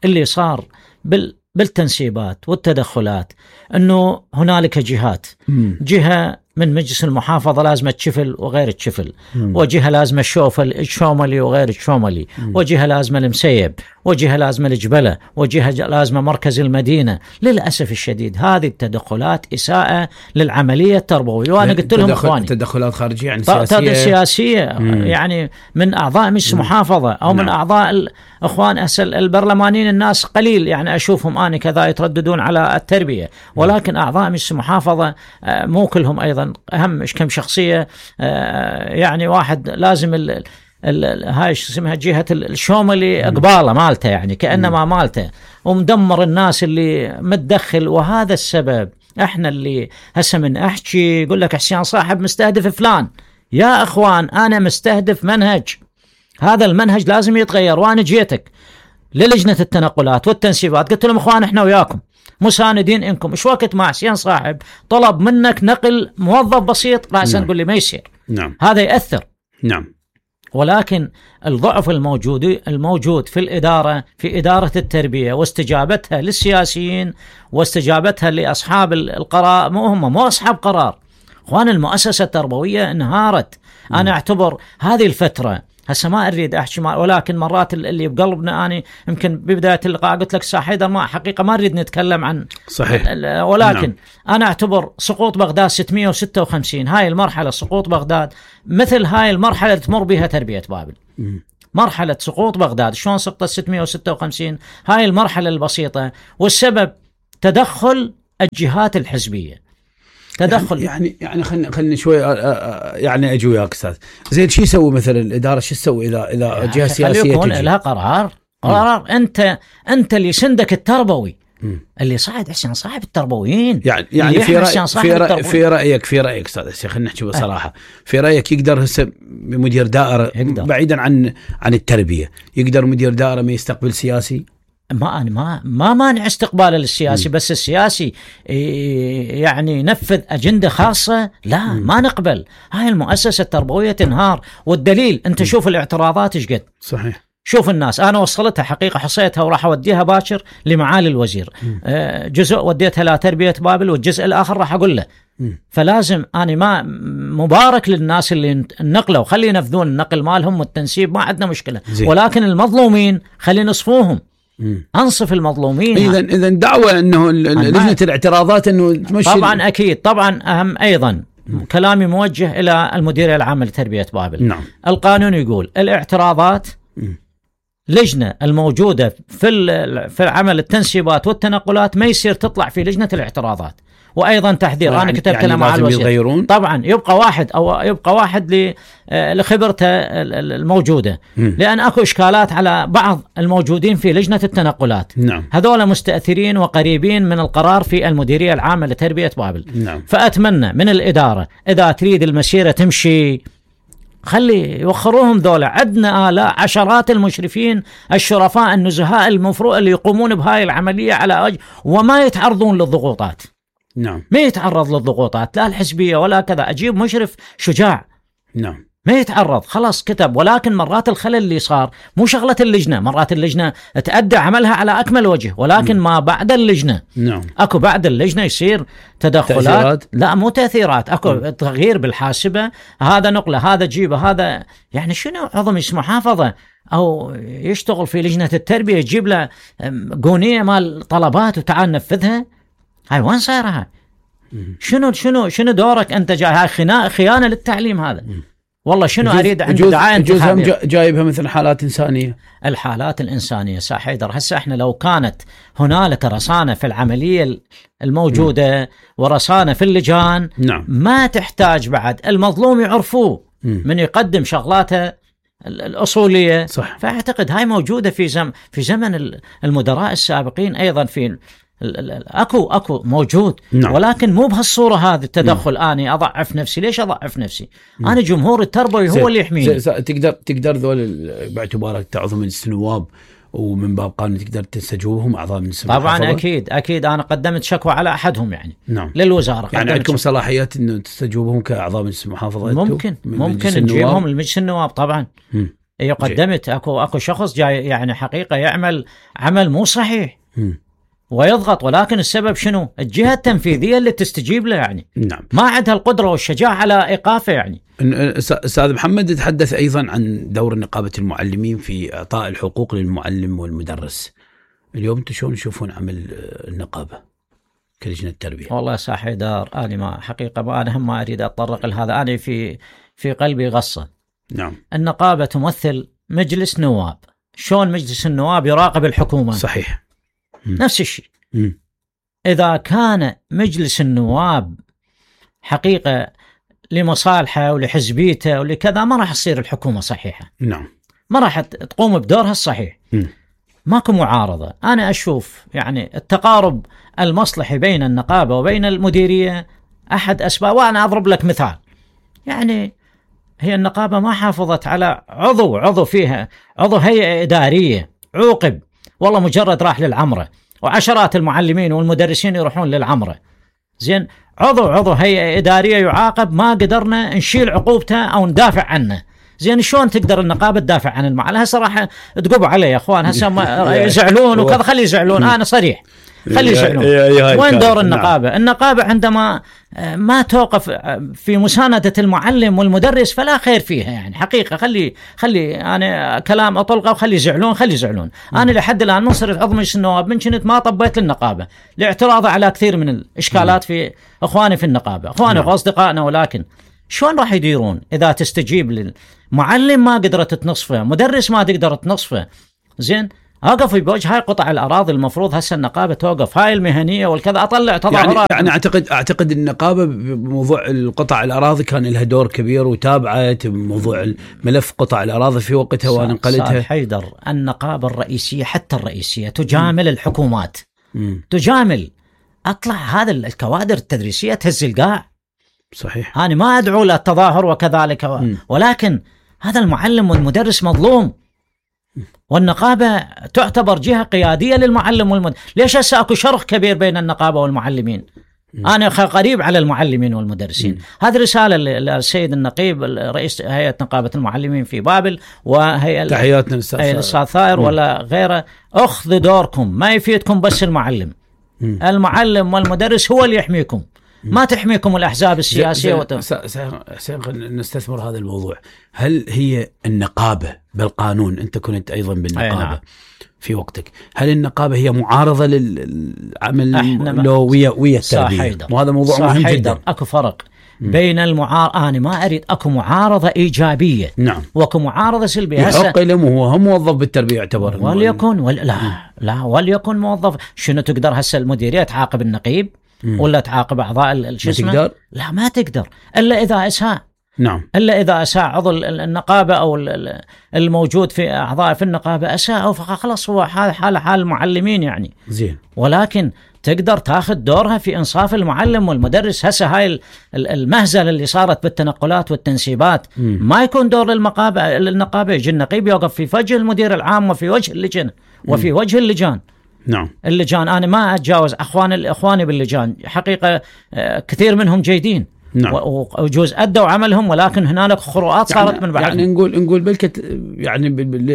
اللي صار بال بالتنسيبات والتدخلات انه هنالك جهات، مم. جهة من مجلس المحافظة لازمة تشفل وغير تشفل، وجهة لازمة الشوفل الشوملي وغير الشوملي، وجهة لازمة المسيب، وجهة لازمة الجبلة، وجهة لازمة مركز المدينة. للأسف الشديد هذه التدخلات إساءة للعملية التربوية. وأنا قلت لهم إخواني تدخلات خارجية يعني سياسية, سياسية يعني من أعضاء مجلس المحافظة أو من نعم. أعضاء الأخوان أسل البرلمانيين، الناس قليل يعني أشوفهم أنا كذا يترددون على التربية، ولكن أعضاء مجلس المحافظة مو كلهم أيضا أهم إيش كم شخصية. يعني واحد لازم ال ال هاي اسمها جهة الشوملي قبالة مالته، يعني كأنما مالته، ومدمر الناس اللي متدخل. وهذا السبب احنا اللي هسه من احكي يقول لك حسين صاحب مستهدف فلان، يا اخوان انا مستهدف منهج، هذا المنهج لازم يتغير. وانا جيتك للجنة التنقلات والتنسيبات قلت لهم اخوان احنا وياكم مساندين انكم. ايش وقت ما حسين صاحب طلب منك نقل موظف بسيط راسا نقول لي ما يصير. نعم. هذا يأثر. نعم. ولكن الضعف الموجود الموجود في الإدارة، في إدارة التربية واستجابتها للسياسيين واستجابتها لأصحاب القرار. مو هم مو أصحاب قرار اخوان، المؤسسة التربوية انهارت. م. أنا أعتبر هذه الفترة هسه ما أريد أحكي، ولكن مرات اللي بقلبنا أنا يمكن ببداية اللقاء قلت لك حيدر ما حقيقة ما نريد نتكلم عن صحيح، ولكن نعم. أنا أعتبر سقوط بغداد ستمئة وستة وخمسين هاي المرحلة سقوط بغداد مثل هاي المرحلة اللي تمر بها تربية بابل. م. مرحلة سقوط بغداد شلون سقطت ستمئة وستة وخمسين، هاي المرحلة البسيطة، والسبب تدخل الجهات الحزبية. تدخل يعني يعني خلينا خلينا شوي يعني اجي وياك استاذ. زين شو يسوي مثلا الاداره، شو تسوي اذا اذا جهه سياسيه يكون لها قرار قرار م. انت انت اللي سندك التربوي م. اللي صاعد حسين صاحب التربويين، يعني يعني في رأي في, رأي في رايك في رايك استاذ هسه خلينا نحكي بصراحه، في رايك يقدر هسه مدير دائره يقدر. بعيدا عن عن التربيه، يقدر مدير دائره ما يستقبل سياسي؟ ما أنا ما ما مانع استقباله للسياسي، م. بس السياسي يعني ينفذ أجندة خاصة لا م. ما نقبل. هاي المؤسسة التربوية تنهار، والدليل أنت م. شوف الاعتراضات إيش قد. صحيح. شوف الناس، أنا وصلتها حقيقة حصيتها وراح أوديها باكر لمعالي الوزير. م. جزء وديتها لتربية بابل والجزء الآخر راح أقول له. م. فلازم أنا ما مبارك للناس اللي نقلوا، خلي ينفذون النقل مالهم والتنسيب، ما عندنا مشكلة. زي. ولكن المظلومين خلي نصفوهم. مم. انصف المظلومين. اذا اذا دعوه انه لجنه الاعتراضات انه تمشي. طبعا اكيد طبعا اهم ايضا مم. كلامي موجه الى المديريه العامه لتربيه بابل. نعم. القانون يقول الاعتراضات مم. لجنه الموجوده في في عمل التنسيبات والتنقلات ما يصير تطلع في لجنه الاعتراضات. وايضا تحذير يعني انا كتبت يعني له مع الوزير يغيرون؟ طبعا يبقى واحد او يبقى واحد لخبرته الموجوده. م. لان اكو اشكالات على بعض الموجودين في لجنه التنقلات. نعم. هذول مستاثرين وقريبين من القرار في المديريه العامه لتربيه بابل. نعم. فاتمنى من الاداره اذا تريد المسيره تمشي خلي يوخروهم ذولا. عندنا آلاء عشرات المشرفين الشرفاء النزهاء المفروض اللي يقومون بهاي العمليه على أج... وما يتعرضون للضغوطات. نعم. ما يتعرض للضغوطات لا الحزبية ولا كذا. أجيب مشرف شجاع. نعم. ما يتعرض خلاص كتب. ولكن مرات الخلل اللي صار مو شغلة اللجنة، مرات اللجنة تأدى عملها على أكمل وجه، ولكن ما بعد اللجنة. نعم. أكو بعد اللجنة يصير تدخلات تأثيرات. لا مو تأثيرات، أكو م. تغيير بالحاسبة، هذا نقله هذا جيبه هذا. يعني شنو عظم اسمه محافظة أو يشتغل في لجنة التربية يجيب له قونية مال طلبات وتعال نفذها؟ هاي وين صايرها؟ شنو شنو شنو دورك انت؟ جاي هاي خيانه للتعليم هذا. والله شنو اريد عند دعايه انتخابيه جايبها مثل حالات انسانيه. الحالات الانسانيه صح حيدر. هسه احنا لو كانت هنالك رصانه في العمليه الموجوده م. ورصانه في اللجان، نعم. ما تحتاج بعد المظلوم يعرفوه من يقدم شغلاته الاصوليه. صح. فاعتقد هاي موجوده في زم في زمن المدراء السابقين ايضا في اكو اكو موجود. نعم. ولكن مو بهالصوره هذه التدخل. نعم. اني اضعف نفسي. ليش اضعف نفسي؟ نعم. انا جمهور التربوي هو اللي يحميني. تقدر تقدر ذول باعتبارك تعضو مجلس النواب ومن باب قانون تقدر تستجوبهم اعضاء من السماحه؟ طبعا اكيد اكيد. انا قدمت شكوى على احدهم يعني. نعم. للوزاره. يعني عندكم صلاحيات انه تستجوبهم كاعضاء مجلس المحافظه؟ ممكن ممكن نجيبهم لمجلس النواب طبعا. اي قدمت. اكو اكو شخص جاي يعني حقيقه يعمل عمل مو صحيح. م. ويضغط، ولكن السبب شنو؟ الجهة التنفيذية اللي تستجيب له يعني. نعم. ما عندها القدرة والشجاعة على إيقافه يعني. أستاذ محمد يتحدث أيضا عن دور نقابة المعلمين في إعطاء الحقوق للمعلم والمدرس. اليوم انتم شلون تشوفون عمل النقابة كلجنة التربية؟ والله ساح حيدر أنا ما حقيقة ما أنا هم ما أريد أتطرق لهذا. أنا في في قلبي غصة. نعم. النقابة تمثل مجلس نواب. شلون مجلس النواب يراقب الحكومة؟ صحيح. نفس الشيء. م. إذا كان مجلس النواب حقيقة لمصالحه ولحزبيته ولكذا ما راح تصير الحكومة صحيحة. نعم. ما راح تقوم بدورها الصحيح. م. ماكو معارضة. أنا أشوف يعني التقارب المصلحي بين النقابة وبين المديرية أحد أسباب. وأنا أضرب لك مثال. يعني هي النقابة ما حافظت على عضو عضو فيها عضو هيئة إدارية عوقب، والله مجرد راح للعمرة، وعشرات المعلمين والمدرسين يروحون للعمرة. زين، عضو عضو هيئة إدارية يعاقب، ما قدرنا نشيل عقوبته أو ندافع عنه. زين، شلون تقدر النقابة تدافع عن المعلم؟ هسه راح تقبوا علي يا اخوان، هسه يزعلون وكذا، خلي يزعلون، انا صريح، خلي يزعلون. وين دور النقابة؟ النقابة عندما ما توقف في مساندة المعلم والمدرس فلا خير فيها، يعني حقيقة. خلي خلي انا كلام اطلقه وخلي يزعلون، خلي يزعلون. انا لحد الان من صرت عضو مجلس النواب من كنت ما طبيت للنقابة لاعتراض على كثير من الاشكالات في اخواني في النقابة، اخواني واصدقائنا. ولكن شلون راح يديرون اذا تستجيب للمعلم ما قدرت تنصفه، مدرس ما تقدر تنصفه؟ زين، اقف بوجه هاي قطع الاراضي، المفروض هسه النقابه توقف هاي المهنيه والكذا، اطلع تظاهرات. يعني, يعني اعتقد اعتقد النقابه بموضوع القطع الاراضي كان لها دور كبير، وتابعت موضوع ملف قطع الاراضي في وقتها ونقلتها. حيدر، النقابه الرئيسيه حتى الرئيسيه تجامل م. الحكومات، م. تجامل. اطلع هذا الكوادر التدريسيه تهز القاع. صحيح، انا ما ادعو للتظاهر وكذلك، م. ولكن هذا المعلم والمدرس مظلوم، والنقابة تعتبر جهة قيادية للمعلم والمدرس. ليش هسه اكو شرخ كبير بين النقابة والمعلمين؟ م. أنا قريب على المعلمين والمدرسين. هذه رسالة للسيد النقيب رئيس هيئة نقابة المعلمين في بابل، وهيئة تحياتنا للأستاذ ثائر ولا غيره. أخذ دوركم، ما يفيدكم بس المعلم. م. المعلم والمدرس هو اللي يحميكم، ما تحميكم الأحزاب السياسية. وت... نستثمر هذا الموضوع. هل هي النقابة بالقانون، أنت كنت أيضا بالنقابة نعم. في وقتك، هل النقابة هي معارضة للعمل لو ويا ويا التربية؟ وهذا موضوع مهم جدا. أكو فرق بين المعارضة، أنا ما أريد أكو معارضة إيجابية نعم، وأكو معارضة سلبية. يحق له، هو هم موظف بالتربية يعتبر، وليكن ولا لا لا وليكن موظف. شنو تقدر هسه المديرية تعاقب النقيب م. ولا تعاقب أعضاء الشسمة؟ لا، ما تقدر إلا إذا أساء. نعم، إلا إذا أساء عضو النقابة أو الموجود في أعضاء في النقابة أساء، فخلص هو حال حال حال المعلمين يعني. زين، ولكن تقدر تاخذ دورها في إنصاف المعلم والمدرس. هسه هاي المهزلة اللي صارت بالتنقلات والتنسيبات م. ما يكون دور للنقابة. النقابة يجي النقيب يوقف في وجه المدير العام وفي وجه اللجنة وفي م. وجه اللجان. نعم، اللجان أنا ما أتجاوز أخواني إخواني باللجان، حقيقة كثير منهم جيدين. نعم، وجوز أدوا عملهم، ولكن هنالك خروقات صارت يعني من بعد. يعني نقول نقول بلكت يعني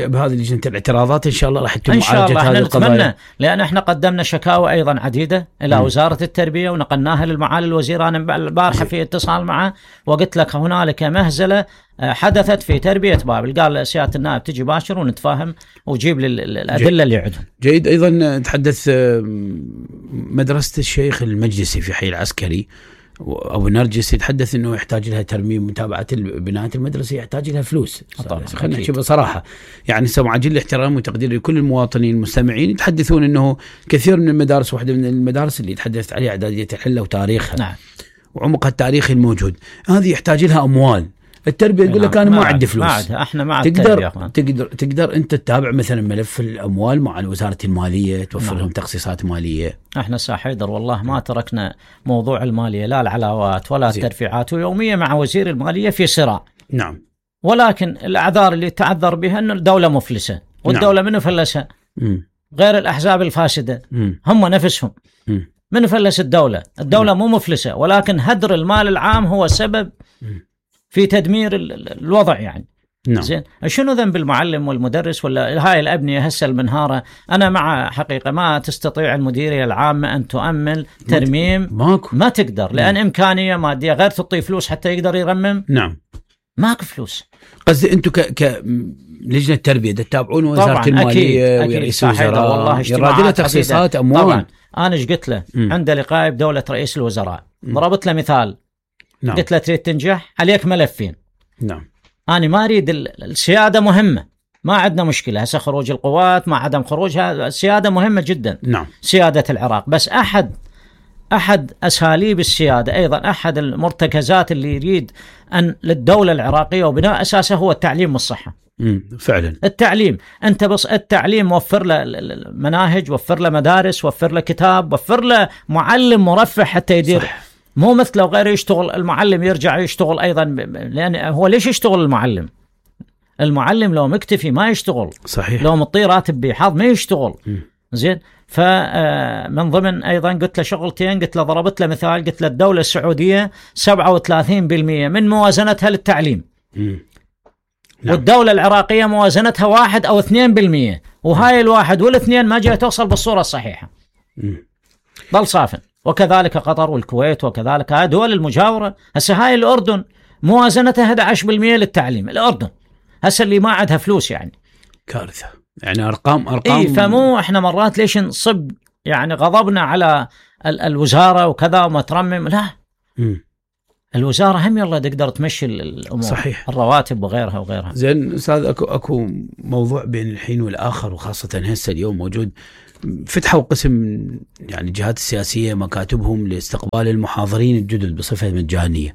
بهذه لجنة الاعتراضات إن شاء الله راح يتم معالجة هذه القضايا، لأن احنا قدمنا شكاوى أيضا عديدة إلى م. وزارة التربية ونقلناها للمعالي الوزير. أنا البارحة في اتصال معه وقلت لك هنالك مهزلة حدثت في تربية بابل. قال سيادة النائب تجي باشر ونتفاهم وجيب الأدلة اللي عندهم. جيد. أيضا تحدث مدرسة الشيخ المجلسي في حي العسكري أبو نرجس، يتحدث أنه يحتاج لها ترميم، متابعة البناية المدرسة يحتاج لها فلوس. خلينا نحكي بصراحة، يعني سمع جل احترام وتقدير لكل المواطنين المستمعين. يتحدثون أنه كثير من المدارس، واحدة من المدارس اللي يتحدث عليها إعدادية الحلة وتاريخها نعم. وعمقها التاريخي الموجود، هذه يحتاج لها أموال. التربية يقول لك أنا ما عندي فلوس. احنا مع تقدر تقدر تقدر أنت تتابع مثلا ملف الأموال مع وزارة المالية، توفر لهم تخصيصات مالية. احنا ساحيدر والله ما تركنا موضوع المالية، لا العلاوات ولا زي. الترفيعات، ويوميا مع وزير المالية في صراع. نعم، ولكن الأعذار اللي تعذر بها أن الدولة مفلسة، والدولة نعم. من فلسها؟ غير الأحزاب الفاسدة م. هم نفسهم م. من فلس الدولة. الدولة م. مو مفلسة، ولكن هدر المال العام هو سبب م. في تدمير الوضع يعني. نعم. زين، شنو ذنب المعلم والمدرس ولا هاي الأبنية هسه المنهارة؟ أنا مع حقيقة ما تستطيع المديرية العامة أن تؤمن ترميم، ماكو. ما تقدر، لأن نعم. إمكانية مادية، غير تعطي فلوس حتى يقدر يرمم. نعم، ماكو فلوس. قصدي أنتم ك ك لجنة التربية تتابعون وزارة المالية ورئيس الوزراء، والله يراد تخصيصات أموال. طبعا أنا ايش قلت له م. عند لقاء بدولة رئيس الوزراء م. ضربت له مثال. نعم. قلت له تريد تنجح عليك ملفين. نعم، أنا ما أريد السيادة مهمة، ما عندنا مشكلة هسه خروج القوات مع عدم خروجها، السيادة مهمة جدا. نعم. سيادة العراق، بس أحد أحد أساليب السيادة أيضا أحد المرتكزات اللي يريد أن للدولة العراقية وبناء أساسه هو التعليم والصحة. امم فعلا التعليم، أنت بس التعليم وفر له مناهج، وفر له مدارس، وفر له كتاب، وفر له معلم مرفه حتى يدير. صح. مو مثل لو غيره يشتغل المعلم يرجع يشتغل أيضا، لأن هو ليش يشتغل المعلم؟ المعلم لو مكتفي ما يشتغل. صحيح. لو مطي راتب بحظ ما يشتغل. م. زين. فمن ضمن أيضا قلت له شغلتين، قلت له ضربت له مثال، قلت له الدولة السعودية سبعة وثلاثين بالمئة من موازنتها للتعليم. م. نعم. والدولة العراقية موازنتها واحد أو اثنين بالمئة، وهاي الواحد والاثنين ما جاء توصل بالصورة الصحيحة. م. ضل صافن. وكذلك قطر والكويت وكذلك هاي دول المجاورة. هسه هاي الأردن موازنتها أحد عشر بالمئة للتعليم. الأردن هسه اللي ما عندها فلوس يعني كارثة. يعني أرقام أرقام. إيه، فمو إحنا مرات ليش نصب يعني غضبنا على ال- الوزارة وكذا وما ترمم. لا. م. الوزارة هم يلا تقدر تمشي الأمور. صحيح. الرواتب وغيرها وغيرها. زين أستاذ، أكو أكو موضوع بين الحين والآخر، وخاصة هسه اليوم موجود فتحوا قسم يعني الجهات السياسية مكاتبهم لاستقبال المحاضرين الجدد بصفة مجانية.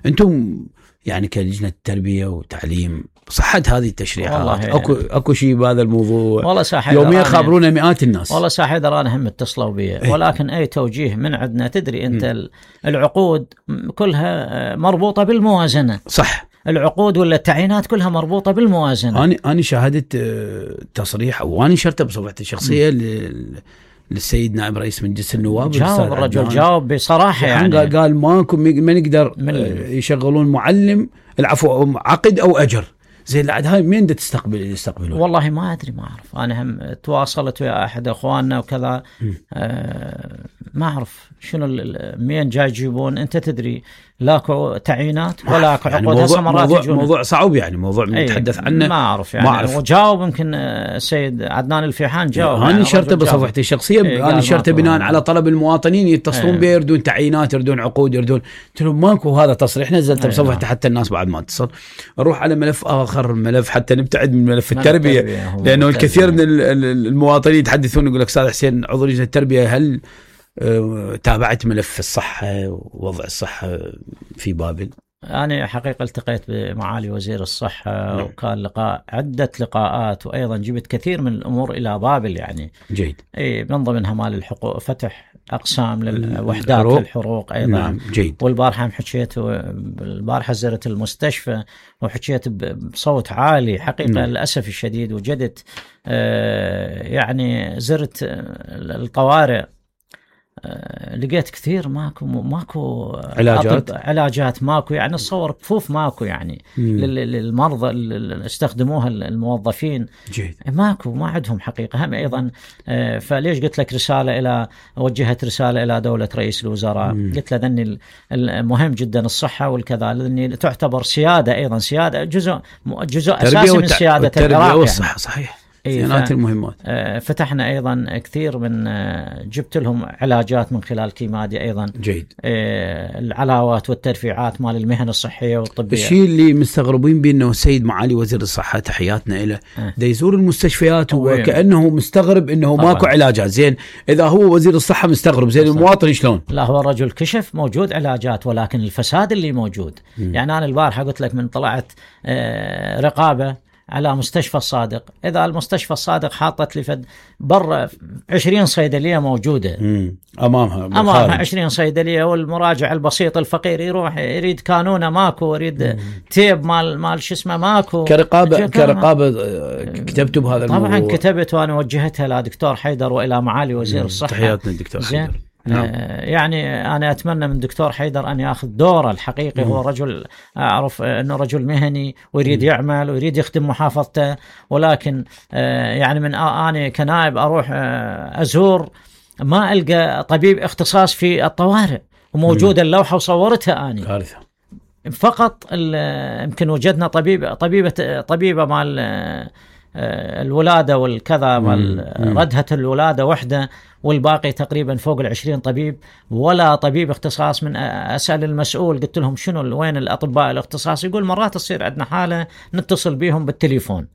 أنتم يعني كلجنة تربية وتعليم صحت هذه التشريعات؟ اكو اكو شيء بهذا الموضوع؟ والله ساحي يوميا خابرونا مئات الناس. والله ساحي انا هم اتصلوا بي، ولكن اي توجيه من عندنا. تدري انت م. العقود كلها مربوطة بالموازنة. صح. العقود ولا التعيينات كلها مربوطة بالموازنة. أنا أنا شاهدت تصريح أو أنا نشرته بصفحتي الشخصية للسيد نائب رئيس مجلس النواب. جاوب الرجل، جاوب بصراحة يعني قال ماكو ما نقدر يشغلون معلم العفو عقد أو أجر. زين العاد هاي مين دا تستقبل يستقبلون؟ والله ما أدري، ما أعرف. أنا هم تواصلت ويا أحد أخواننا وكذا، آه ما أعرف شنو مين جاي يجيبون. أنت تدري لاكو تعيينات ولا عقود. يعني موضوع, موضوع, موضوع صعب يعني، موضوع نتحدث عنه ما أعرف يعني. ما أعرف. وجاوب يمكن السيد عدنان الفيحان جاوب. أنا نشرته بصفحتي الشخصية. أنا نشرته بناء على طلب المواطنين يتصلون بي يردون تعيينات يردون عقود يردون. قلت لهم ماكو هذا تصريح، نزلته بصفحتي حتى الناس بعد ما اتصل. نروح على ملف آخر، ملف حتى نبتعد من ملف التربية، لأنه الكثير من المواطنين يتحدثون يقول لك أستاذ حسين عضو لجنة التربية هل تابعت ملف الصحة ووضع الصحة في بابل؟ أنا حقيقة التقيت بمعالي وزير الصحة م. وكان لقاء عدة لقاءات، وأيضا جبت كثير من الأمور إلى بابل يعني. جيد. أي من ضمنها مال الحقوق، فتح أقسام للوحدات للحروق أيضا. نعم. جيد. والبارحة حكيت، البارحة زرت المستشفى وحكيت بصوت عالي حقيقة. نعم. للأسف الشديد وجدت آه يعني زرت الطوارئ، لقيت كثير ماكو ماكو علاجات علاجات ماكو يعني. الصور كفوف ماكو يعني للمرضى اللي استخدموها الموظفين. جيد. ماكو، ما عندهم حقيقة هم أيضا. فليش قلت لك رسالة إلى وجهت رسالة إلى دولة رئيس الوزراء. مم. قلت له ذني المهم جدا الصحة والكذا، لأني تعتبر سيادة أيضا، سيادة جزء جزء أساسي من سيادة العراق والصحة. يعني. صحيح. ف... المهمات. فتحنا أيضا كثير من جبت لهم علاجات من خلال كيمادي أيضا. جيد. العلاوات والترفيعات مال المهن الصحية والطبية. الشيء اللي مستغربين بأنه السيد معالي وزير الصحة تحياتنا له أه. دا يزور المستشفيات وكأنه مستغرب أنه طبعا. ماكو علاجات. زين إذا هو وزير الصحة مستغرب، زين المواطن شلون؟ لا، هو الرجل كشف موجود علاجات، ولكن الفساد اللي موجود. م. يعني أنا البارحة قلت لك من طلعت رقابة على مستشفى الصادق، إذا المستشفى الصادق حاطت لي فد برا عشرين صيدلية موجودة أمامها أمامها عشرين صيدلية، والمراجع البسيط الفقير يروح يريد كانونة ماكو، يريد مم. تيب مال مال شو اسمه ماكو. كرقابة كرقابة كتبت بهذا الموضوع؟ طبعا كتبت، وأنا وجهتها لدكتور حيدر وإلى معالي وزير الصحة. تحياتنا الدكتور حيدر. نعم. يعني أنا أتمنى من دكتور حيدر أن يأخذ دوره الحقيقي. مم. هو رجل أعرف أنه رجل مهني ويريد مم. يعمل ويريد يخدم محافظته، ولكن يعني من أنا كنائب أروح أزور ما ألقى طبيب اختصاص في الطوارئ، وموجودة اللوحة وصورتها أنا. كارثة. فقط يمكن وجدنا طبيب طبيبة طبيبة مال الولادة والكذا مال ردهة الولادة وحدة، والباقي تقريبا فوق العشرين طبيب ولا طبيب اختصاص. من أسأل المسؤول قلت لهم شنو وين الأطباء الاختصاص، يقول مرات تصير عندنا حالة نتصل بهم بالتليفون.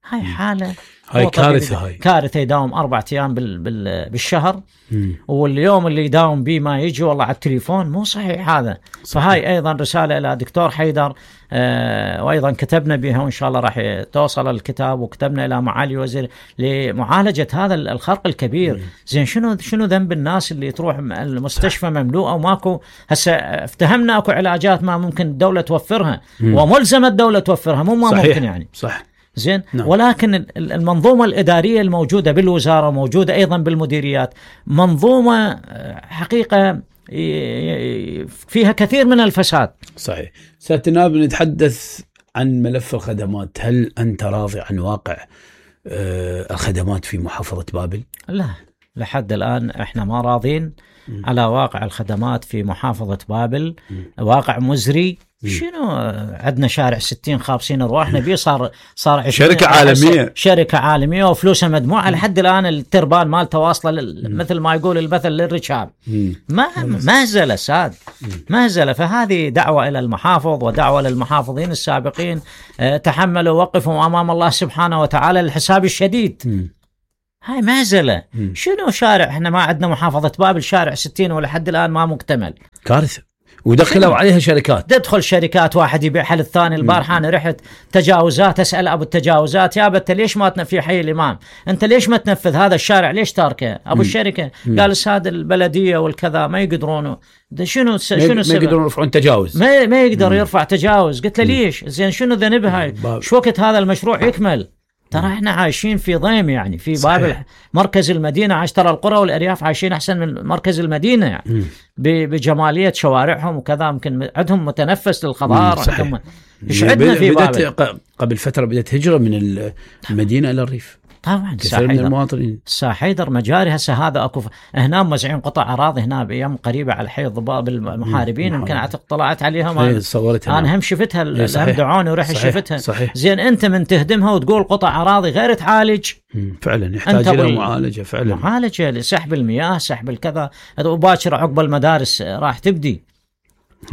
هاي حالة هاي كارثة، هاي كارثة. يداوم أربعة أيام بال بال بالشهر، مم. واليوم اللي يداوم بيه ما يجي والله على التليفون، مو صحيح هذا. صحيح. فهاي أيضا رسالة إلى دكتور حيدر، آه وأيضا كتبنا بها وإن شاء الله راح توصل الكتاب، وكتبنا إلى معالي الوزير لمعالجة هذا الخرق الكبير. مم. زين شنو شنو ذنب الناس اللي تروح المستشفى مملوءة وماكو؟ هسه افتهمنا أكو علاجات ما ممكن الدولة توفرها، مم. وملزمة الدولة توفرها، مو ما ممكن يعني. صح. زين. نعم. ولكن المنظومة الإدارية الموجودة بالوزارة، موجودة أيضا بالمديريات، منظومة حقيقة فيها كثير من الفساد. صحيح. سيادة النائب، نتحدث عن ملف الخدمات. هل أنت راضي عن واقع الخدمات في محافظة بابل؟ لا، لحد الآن احنا ما راضين م. على واقع الخدمات في محافظة بابل. م. واقع مزري. شنو عندنا شارع ستين خابسين ارواحنا بيه، صار صار شركه عالميه شركه عالميه وفلوسها مدموعه. لحد الان التربان مالته واصله مثل ما يقول المثل للركاب. ما ما زال ساد، ما زال. فهذه دعوه الى المحافظ ودعوه للمحافظين السابقين، تحملوا وقفوا امام الله سبحانه وتعالى للحساب الشديد. هاي مهزله. شنو شارع؟ احنا ما عندنا محافظه بابل شارع ستين ولحد الان ما مكتمل. كارثه. ودخلوا عليها شركات، تدخل شركات، واحد يبيع حل الثاني. البارحة أنا رحت تجاوزات، أسأل أبو التجاوزات، يا أنت ليش ما تنفذ حي الإمام؟ أنت ليش ما تنفذ هذا الشارع؟ ليش تاركه؟ أبو مم. الشركة مم. قال الساد البلدية والكذا ما يقدرونه. ده شنو شنو ما يقدرون يرفعون تجاوز، ما, ما يقدر مم. يرفع تجاوز. قلت له ليش؟ زين شنو ذنبها؟ شو وقت هذا المشروع يكمل؟ ترى احنا عايشين في ضيم يعني في بابل، مركز المدينة عايش، ترى القرى والأرياف عايشين أحسن من مركز المدينة يعني بجمالية شوارعهم وكذا. يمكن عندهم متنفس للخضار. ايش عندنا في بابل؟ قبل فترة بدأت هجرة من المدينة إلى الريف طبعا. كثير من المواطنين. ساحيدر مجاري هسه هذا اكو هنا موزعين قطع اراضي هنا بايام قريبه على حي الضباب المحاربين. يمكن اعتقد طلعت عليها، صورتها انا هم شفتها، هم دعوني ورحت شفتها. صحيح. زين انت من تهدمها وتقول قطع اراضي غير تعالج، فعلا يحتاج الى معالجه، فعلا معالجه لسحب المياه، سحب الكذا، وباكر عقب المدارس راح تبدي.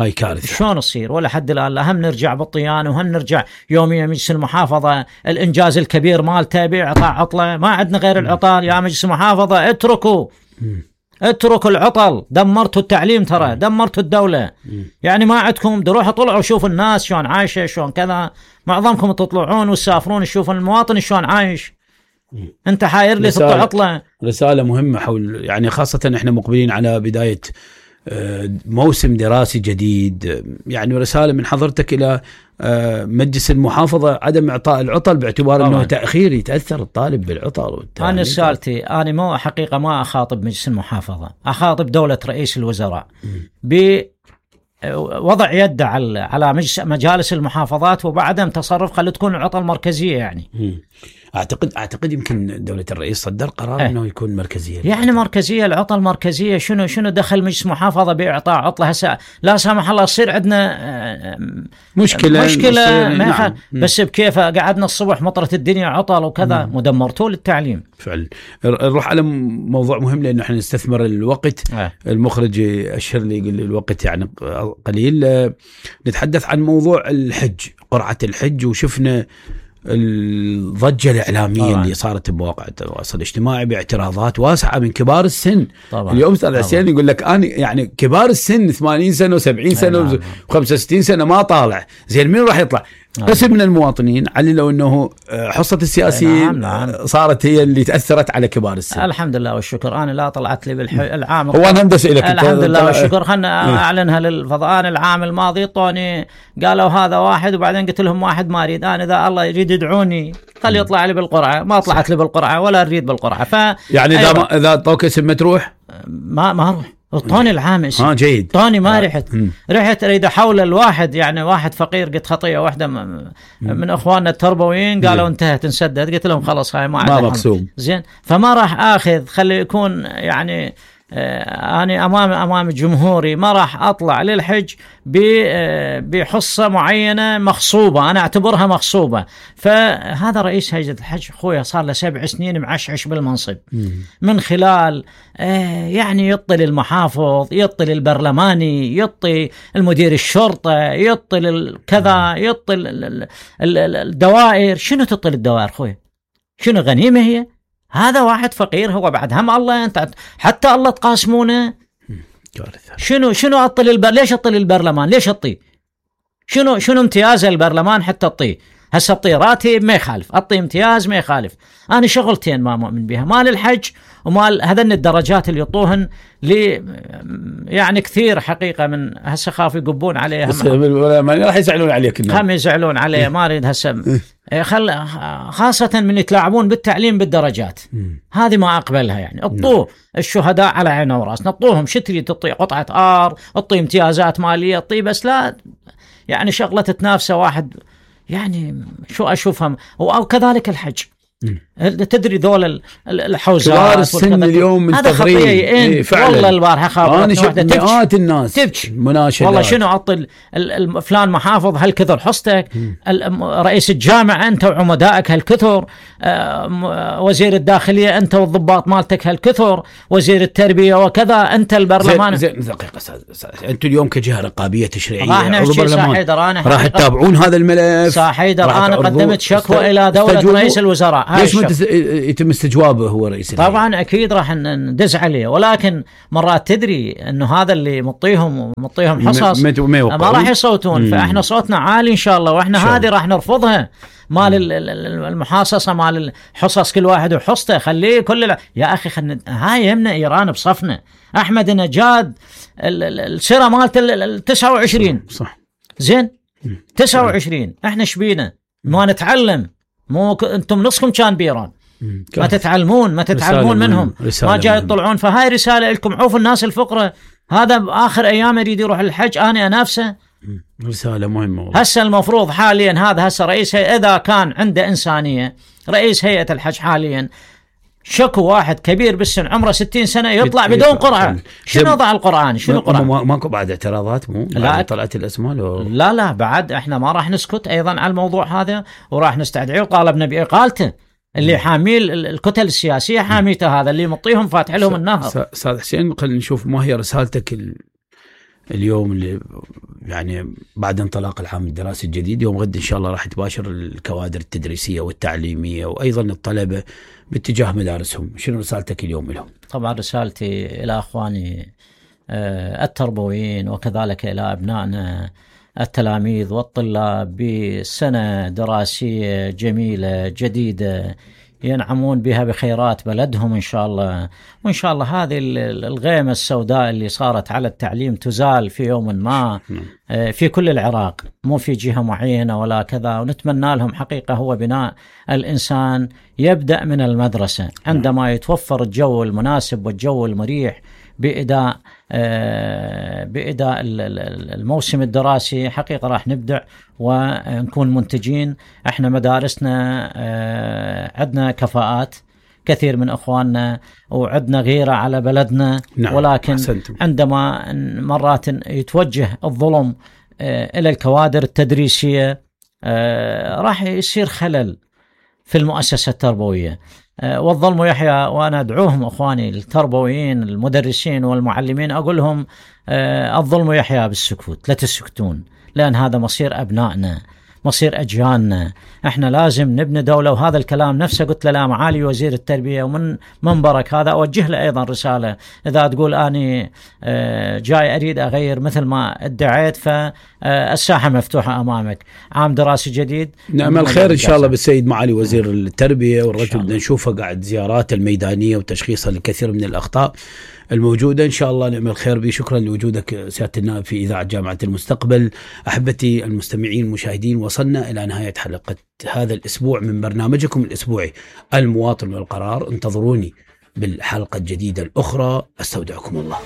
هاي كارثة. شلون تصير؟ ولا حد الآن. لا هم نرجع بالطيان وهم نرجع يوميا مجلس المحافظة الإنجاز الكبير مالته بإعطاء عطلة. ما عندنا غير العطل يا مجلس المحافظة. اتركوا اتركوا العطل. دمرتوا التعليم، ترى دمرتوا الدولة. يعني ما عندكم دروح طلعوا شوفوا الناس شلون عايشة شلون كذا. معظمكم تطلعون وتسافرون تشوفوا المواطن شلون عايش. انت حاير لي تطلع عطلة. رسالة مهمة حول يعني خاصة احنا مقبلين على بداية موسم دراسي جديد. يعني رسالة من حضرتك إلى مجلس المحافظة عدم إعطاء العطل باعتبار طبعا. أنه تأخير يتأثر الطالب بالعطل. أنا رسالتي أنا مو حقيقة ما أخاطب مجلس المحافظة، أخاطب دولة رئيس الوزراء بوضع يد على على مجالس المحافظات وبعدم تصرف. خلي تكون العطل مركزية يعني. م. أعتقد أعتقد يمكن دولة الرئيس صدر قرار اه. إنه يكون مركزية. يعني مركزية العطل مركزية. شنو شنو دخل مجلس محافظة بإعطاء عطلة؟ هسه لا سامح الله يصير عندنا مشكلة مشكلة ما نعم. بس بكيف قعدنا الصبح مطرة الدنيا عطل وكذا. مم. مدمرتوا للتعليم فعلا. نروح على موضوع مهم لأنه احنا نستثمر الوقت. اه. المخرج أشهر لي يقول الوقت يعني قليل. نتحدث عن موضوع الحج، قرعة الحج، وشفنا الضجة الإعلامية طبعا. اللي صارت بمواقع التواصل الاجتماعي باعتراضات واسعة من كبار السن طبعا. اليوم صار عسيان يقول لك أنا يعني كبار السن ثمانين سنة وسبعين سنة وخمسة وستين سنة ما طالع. زين مين راح يطلع؟ قسم من المواطنين عللوا أنه حصة السياسيين نعم نعم. صارت هي اللي تأثرت على كبار السن. الحمد لله والشكر. أنا لا طلعت لي بالعام هو أنا هندس إليك الحمد لله والشكر. خلنا أعلنها للفضاء. أنا العام الماضي طوني قالوا هذا واحد وبعدين قلت لهم واحد ما أريد. أنا إذا الله يريد يدعوني خلي يطلع لي بالقرعة. ما طلعت لي بالقرعة ولا أريد بالقرعة. ف يعني إذا أيوة. إذا طوك اسم تروح ما ما أروح. طوني العامس اه جيد. طوني ما رحت م. رحت اريد احول الواحد يعني واحد فقير. قلت خطيه واحده من, من اخواننا التربويين قالوا انتهت انسدد. قلت لهم خلاص هاي ما ما مقسوم. زين فما راح اخذ. خلي يكون يعني أنا أمام أمام جمهوري ما راح أطلع للحج بحصة معينة مغصوبة، أنا أعتبرها مغصوبة. فهذا رئيس هيئة الحج أخويا صار له سبع سنين معشعش بالمنصب، من خلال يعني يطل المحافظ، يطل البرلماني، يطل المدير الشرطة، يطل كذا، يطل الدوائر. شنو تطل الدوائر أخويا؟ شنو غنيمة هي؟ هذا واحد فقير هو بعد هم الله، أنت حتى الله تقاسمونه. شنو شنو أطل البر ليش أطل البرلمان؟ ليش أطي؟ شنو شنو امتياز البرلمان حتى أطي؟ هسه أطي راتب ما يخالف، أطي امتياز ما يخالف. أنا شغلتين ما مؤمن بها، مال الحج ومال هذن الدرجات اللي يطوهن لي يعني كثير حقيقة. من هسه خاف يقبون عليه، ما راح يزعلون عليك، هم يزعلون عليه. ما أريد هسه خل خاصة من يتلاعبون بالتعليم بالدرجات، هذه ما أقبلها. يعني اطوه الشهداء على عينه وراسنا، اطوهم شتري، تطي قطعة آر، اطي امتيازات مالية، اطي، بس لا يعني شغلة تتنافسه واحد يعني شو أشوفها. وكذلك الحج، تدري ذول الحوزات كبار السن اليوم هذا خطيئي. إيه والله البارحة خابرتني واحدة مئات الناس تبكي مناشدات، والله شنو عطل فلان محافظ هالكثر حصتك، رئيس الجامعة أنت وعمدائك هالكثر، وزير الداخلية أنت والضباط مالتك هالكثر، وزير التربية وكذا، أنت البرلمان. زين دقيقة أستاذ، أنتم اليوم كجهة رقابية تشريعية راح تتابعون هذا الملف. ساحيدر أنا قدمت شكوى إلى دولة رئيس الوزراء. ليش ما يتم استجوابه هو رئيس الهيئة؟ طبعا أكيد راح ندز عليه، ولكن مرات تدري أنه هذا اللي مطيهم مطيهم حصص ما راح يصوتون. مم. فإحنا صوتنا عالي إن شاء الله، وإحنا هذه راح نرفضها، مال المحاصصة، مال الحصص كل واحد وحصته. خليه كل ال... يا أخي خلنا هاي يمنا إيران بصفنا. أحمد نجاد السيرة مالت التسعة وعشرين صح زين تسعة وعشرين، إحنا شبينا ما نتعلم، مو ك... أنتم نصكم كان بإيران، ما تتعلمون ما تتعلمون منهم، ما جاي يطلعون. فهاي رسالة لكم، عوفوا الناس الفقراء. هذا بآخر أيام يريد يروح الحج، أنا أنافسه. رسالة مهمة. هسه المفروض حاليا هذا هسه رئيس هيئة، إذا كان عنده إنسانية رئيس هيئة الحج حاليا، شكو واحد كبير بالسن عمره ستين سنة يطلع بدون قرعة. شنو وضع القرآن؟ شنو قرآن؟ ماكو بعد اعتراضات؟ مو لا طلعت الأسماء لو... لا لا بعد احنا ما راح نسكت أيضا على الموضوع هذا، وراح نستدعيه. وطالبنا بإقالته اللي حامل الكتل السياسية، حاميته هذا اللي مطيهم فاتح لهم النهر. أستاذ حسين، خلينا نشوف ما هي رسالتك ال... اليوم اللي يعني بعد انطلاق العام الدراسي الجديد. يوم غد إن شاء الله راح تباشر الكوادر التدريسية والتعليمية وأيضا الطلبة باتجاه مدارسهم. شنو رسالتك اليوم لهم؟ طبعا رسالتي إلى أخواني التربويين وكذلك إلى أبنائنا التلاميذ والطلاب بسنة دراسية جميلة جديدة ينعمون بها بخيرات بلدهم إن شاء الله. وإن شاء الله هذه الغيمة السوداء اللي صارت على التعليم تزال في يوم ما في كل العراق، مو في جهة معينة ولا كذا. ونتمنى لهم حقيقة هو بناء الإنسان يبدأ من المدرسة، عندما يتوفر الجو المناسب والجو المريح بإداء بإداء الموسم الدراسي. حقيقة راح نبدع ونكون منتجين. احنا مدارسنا عندنا كفاءات كثير من أخواننا وعندنا غيرة على بلدنا. نعم. ولكن أحسنتم. عندما مرات يتوجه الظلم إلى الكوادر التدريسية راح يصير خلل في المؤسسة التربوية. والظلم يحيى. وأنا أدعوهم أخواني التربويين المدرسين والمعلمين، أقول لهم الظلم يحيى بالسكوت، لا تسكتون، لأن هذا مصير أبنائنا، مصير أجيالنا. احنا لازم نبني دولة. وهذا الكلام نفسه قلت له معالي وزير التربية ومن منبرك هذا أوجه له أيضا رسالة. إذا تقول أني جاي أريد أغير مثل ما ادعيت، فالساحة مفتوحة أمامك. عام دراسي جديد، نعمل خير إن شاء الله بالسيد معالي وزير التربية، والرجل بدنا نشوفه قاعد زيارات الميدانية وتشخيصها لكثير من الأخطاء الموجودة. إن شاء الله نعمل خير به. شكرا لوجودك سيادة النائب في إذاعة جامعة المستقبل. أحبتي المستمعين المشاهدين، وصلنا إلى نهاية حلقة هذا الأسبوع من برنامجكم الأسبوعي المواطن والقرار. انتظروني بالحلقة الجديدة الأخرى. أستودعكم الله.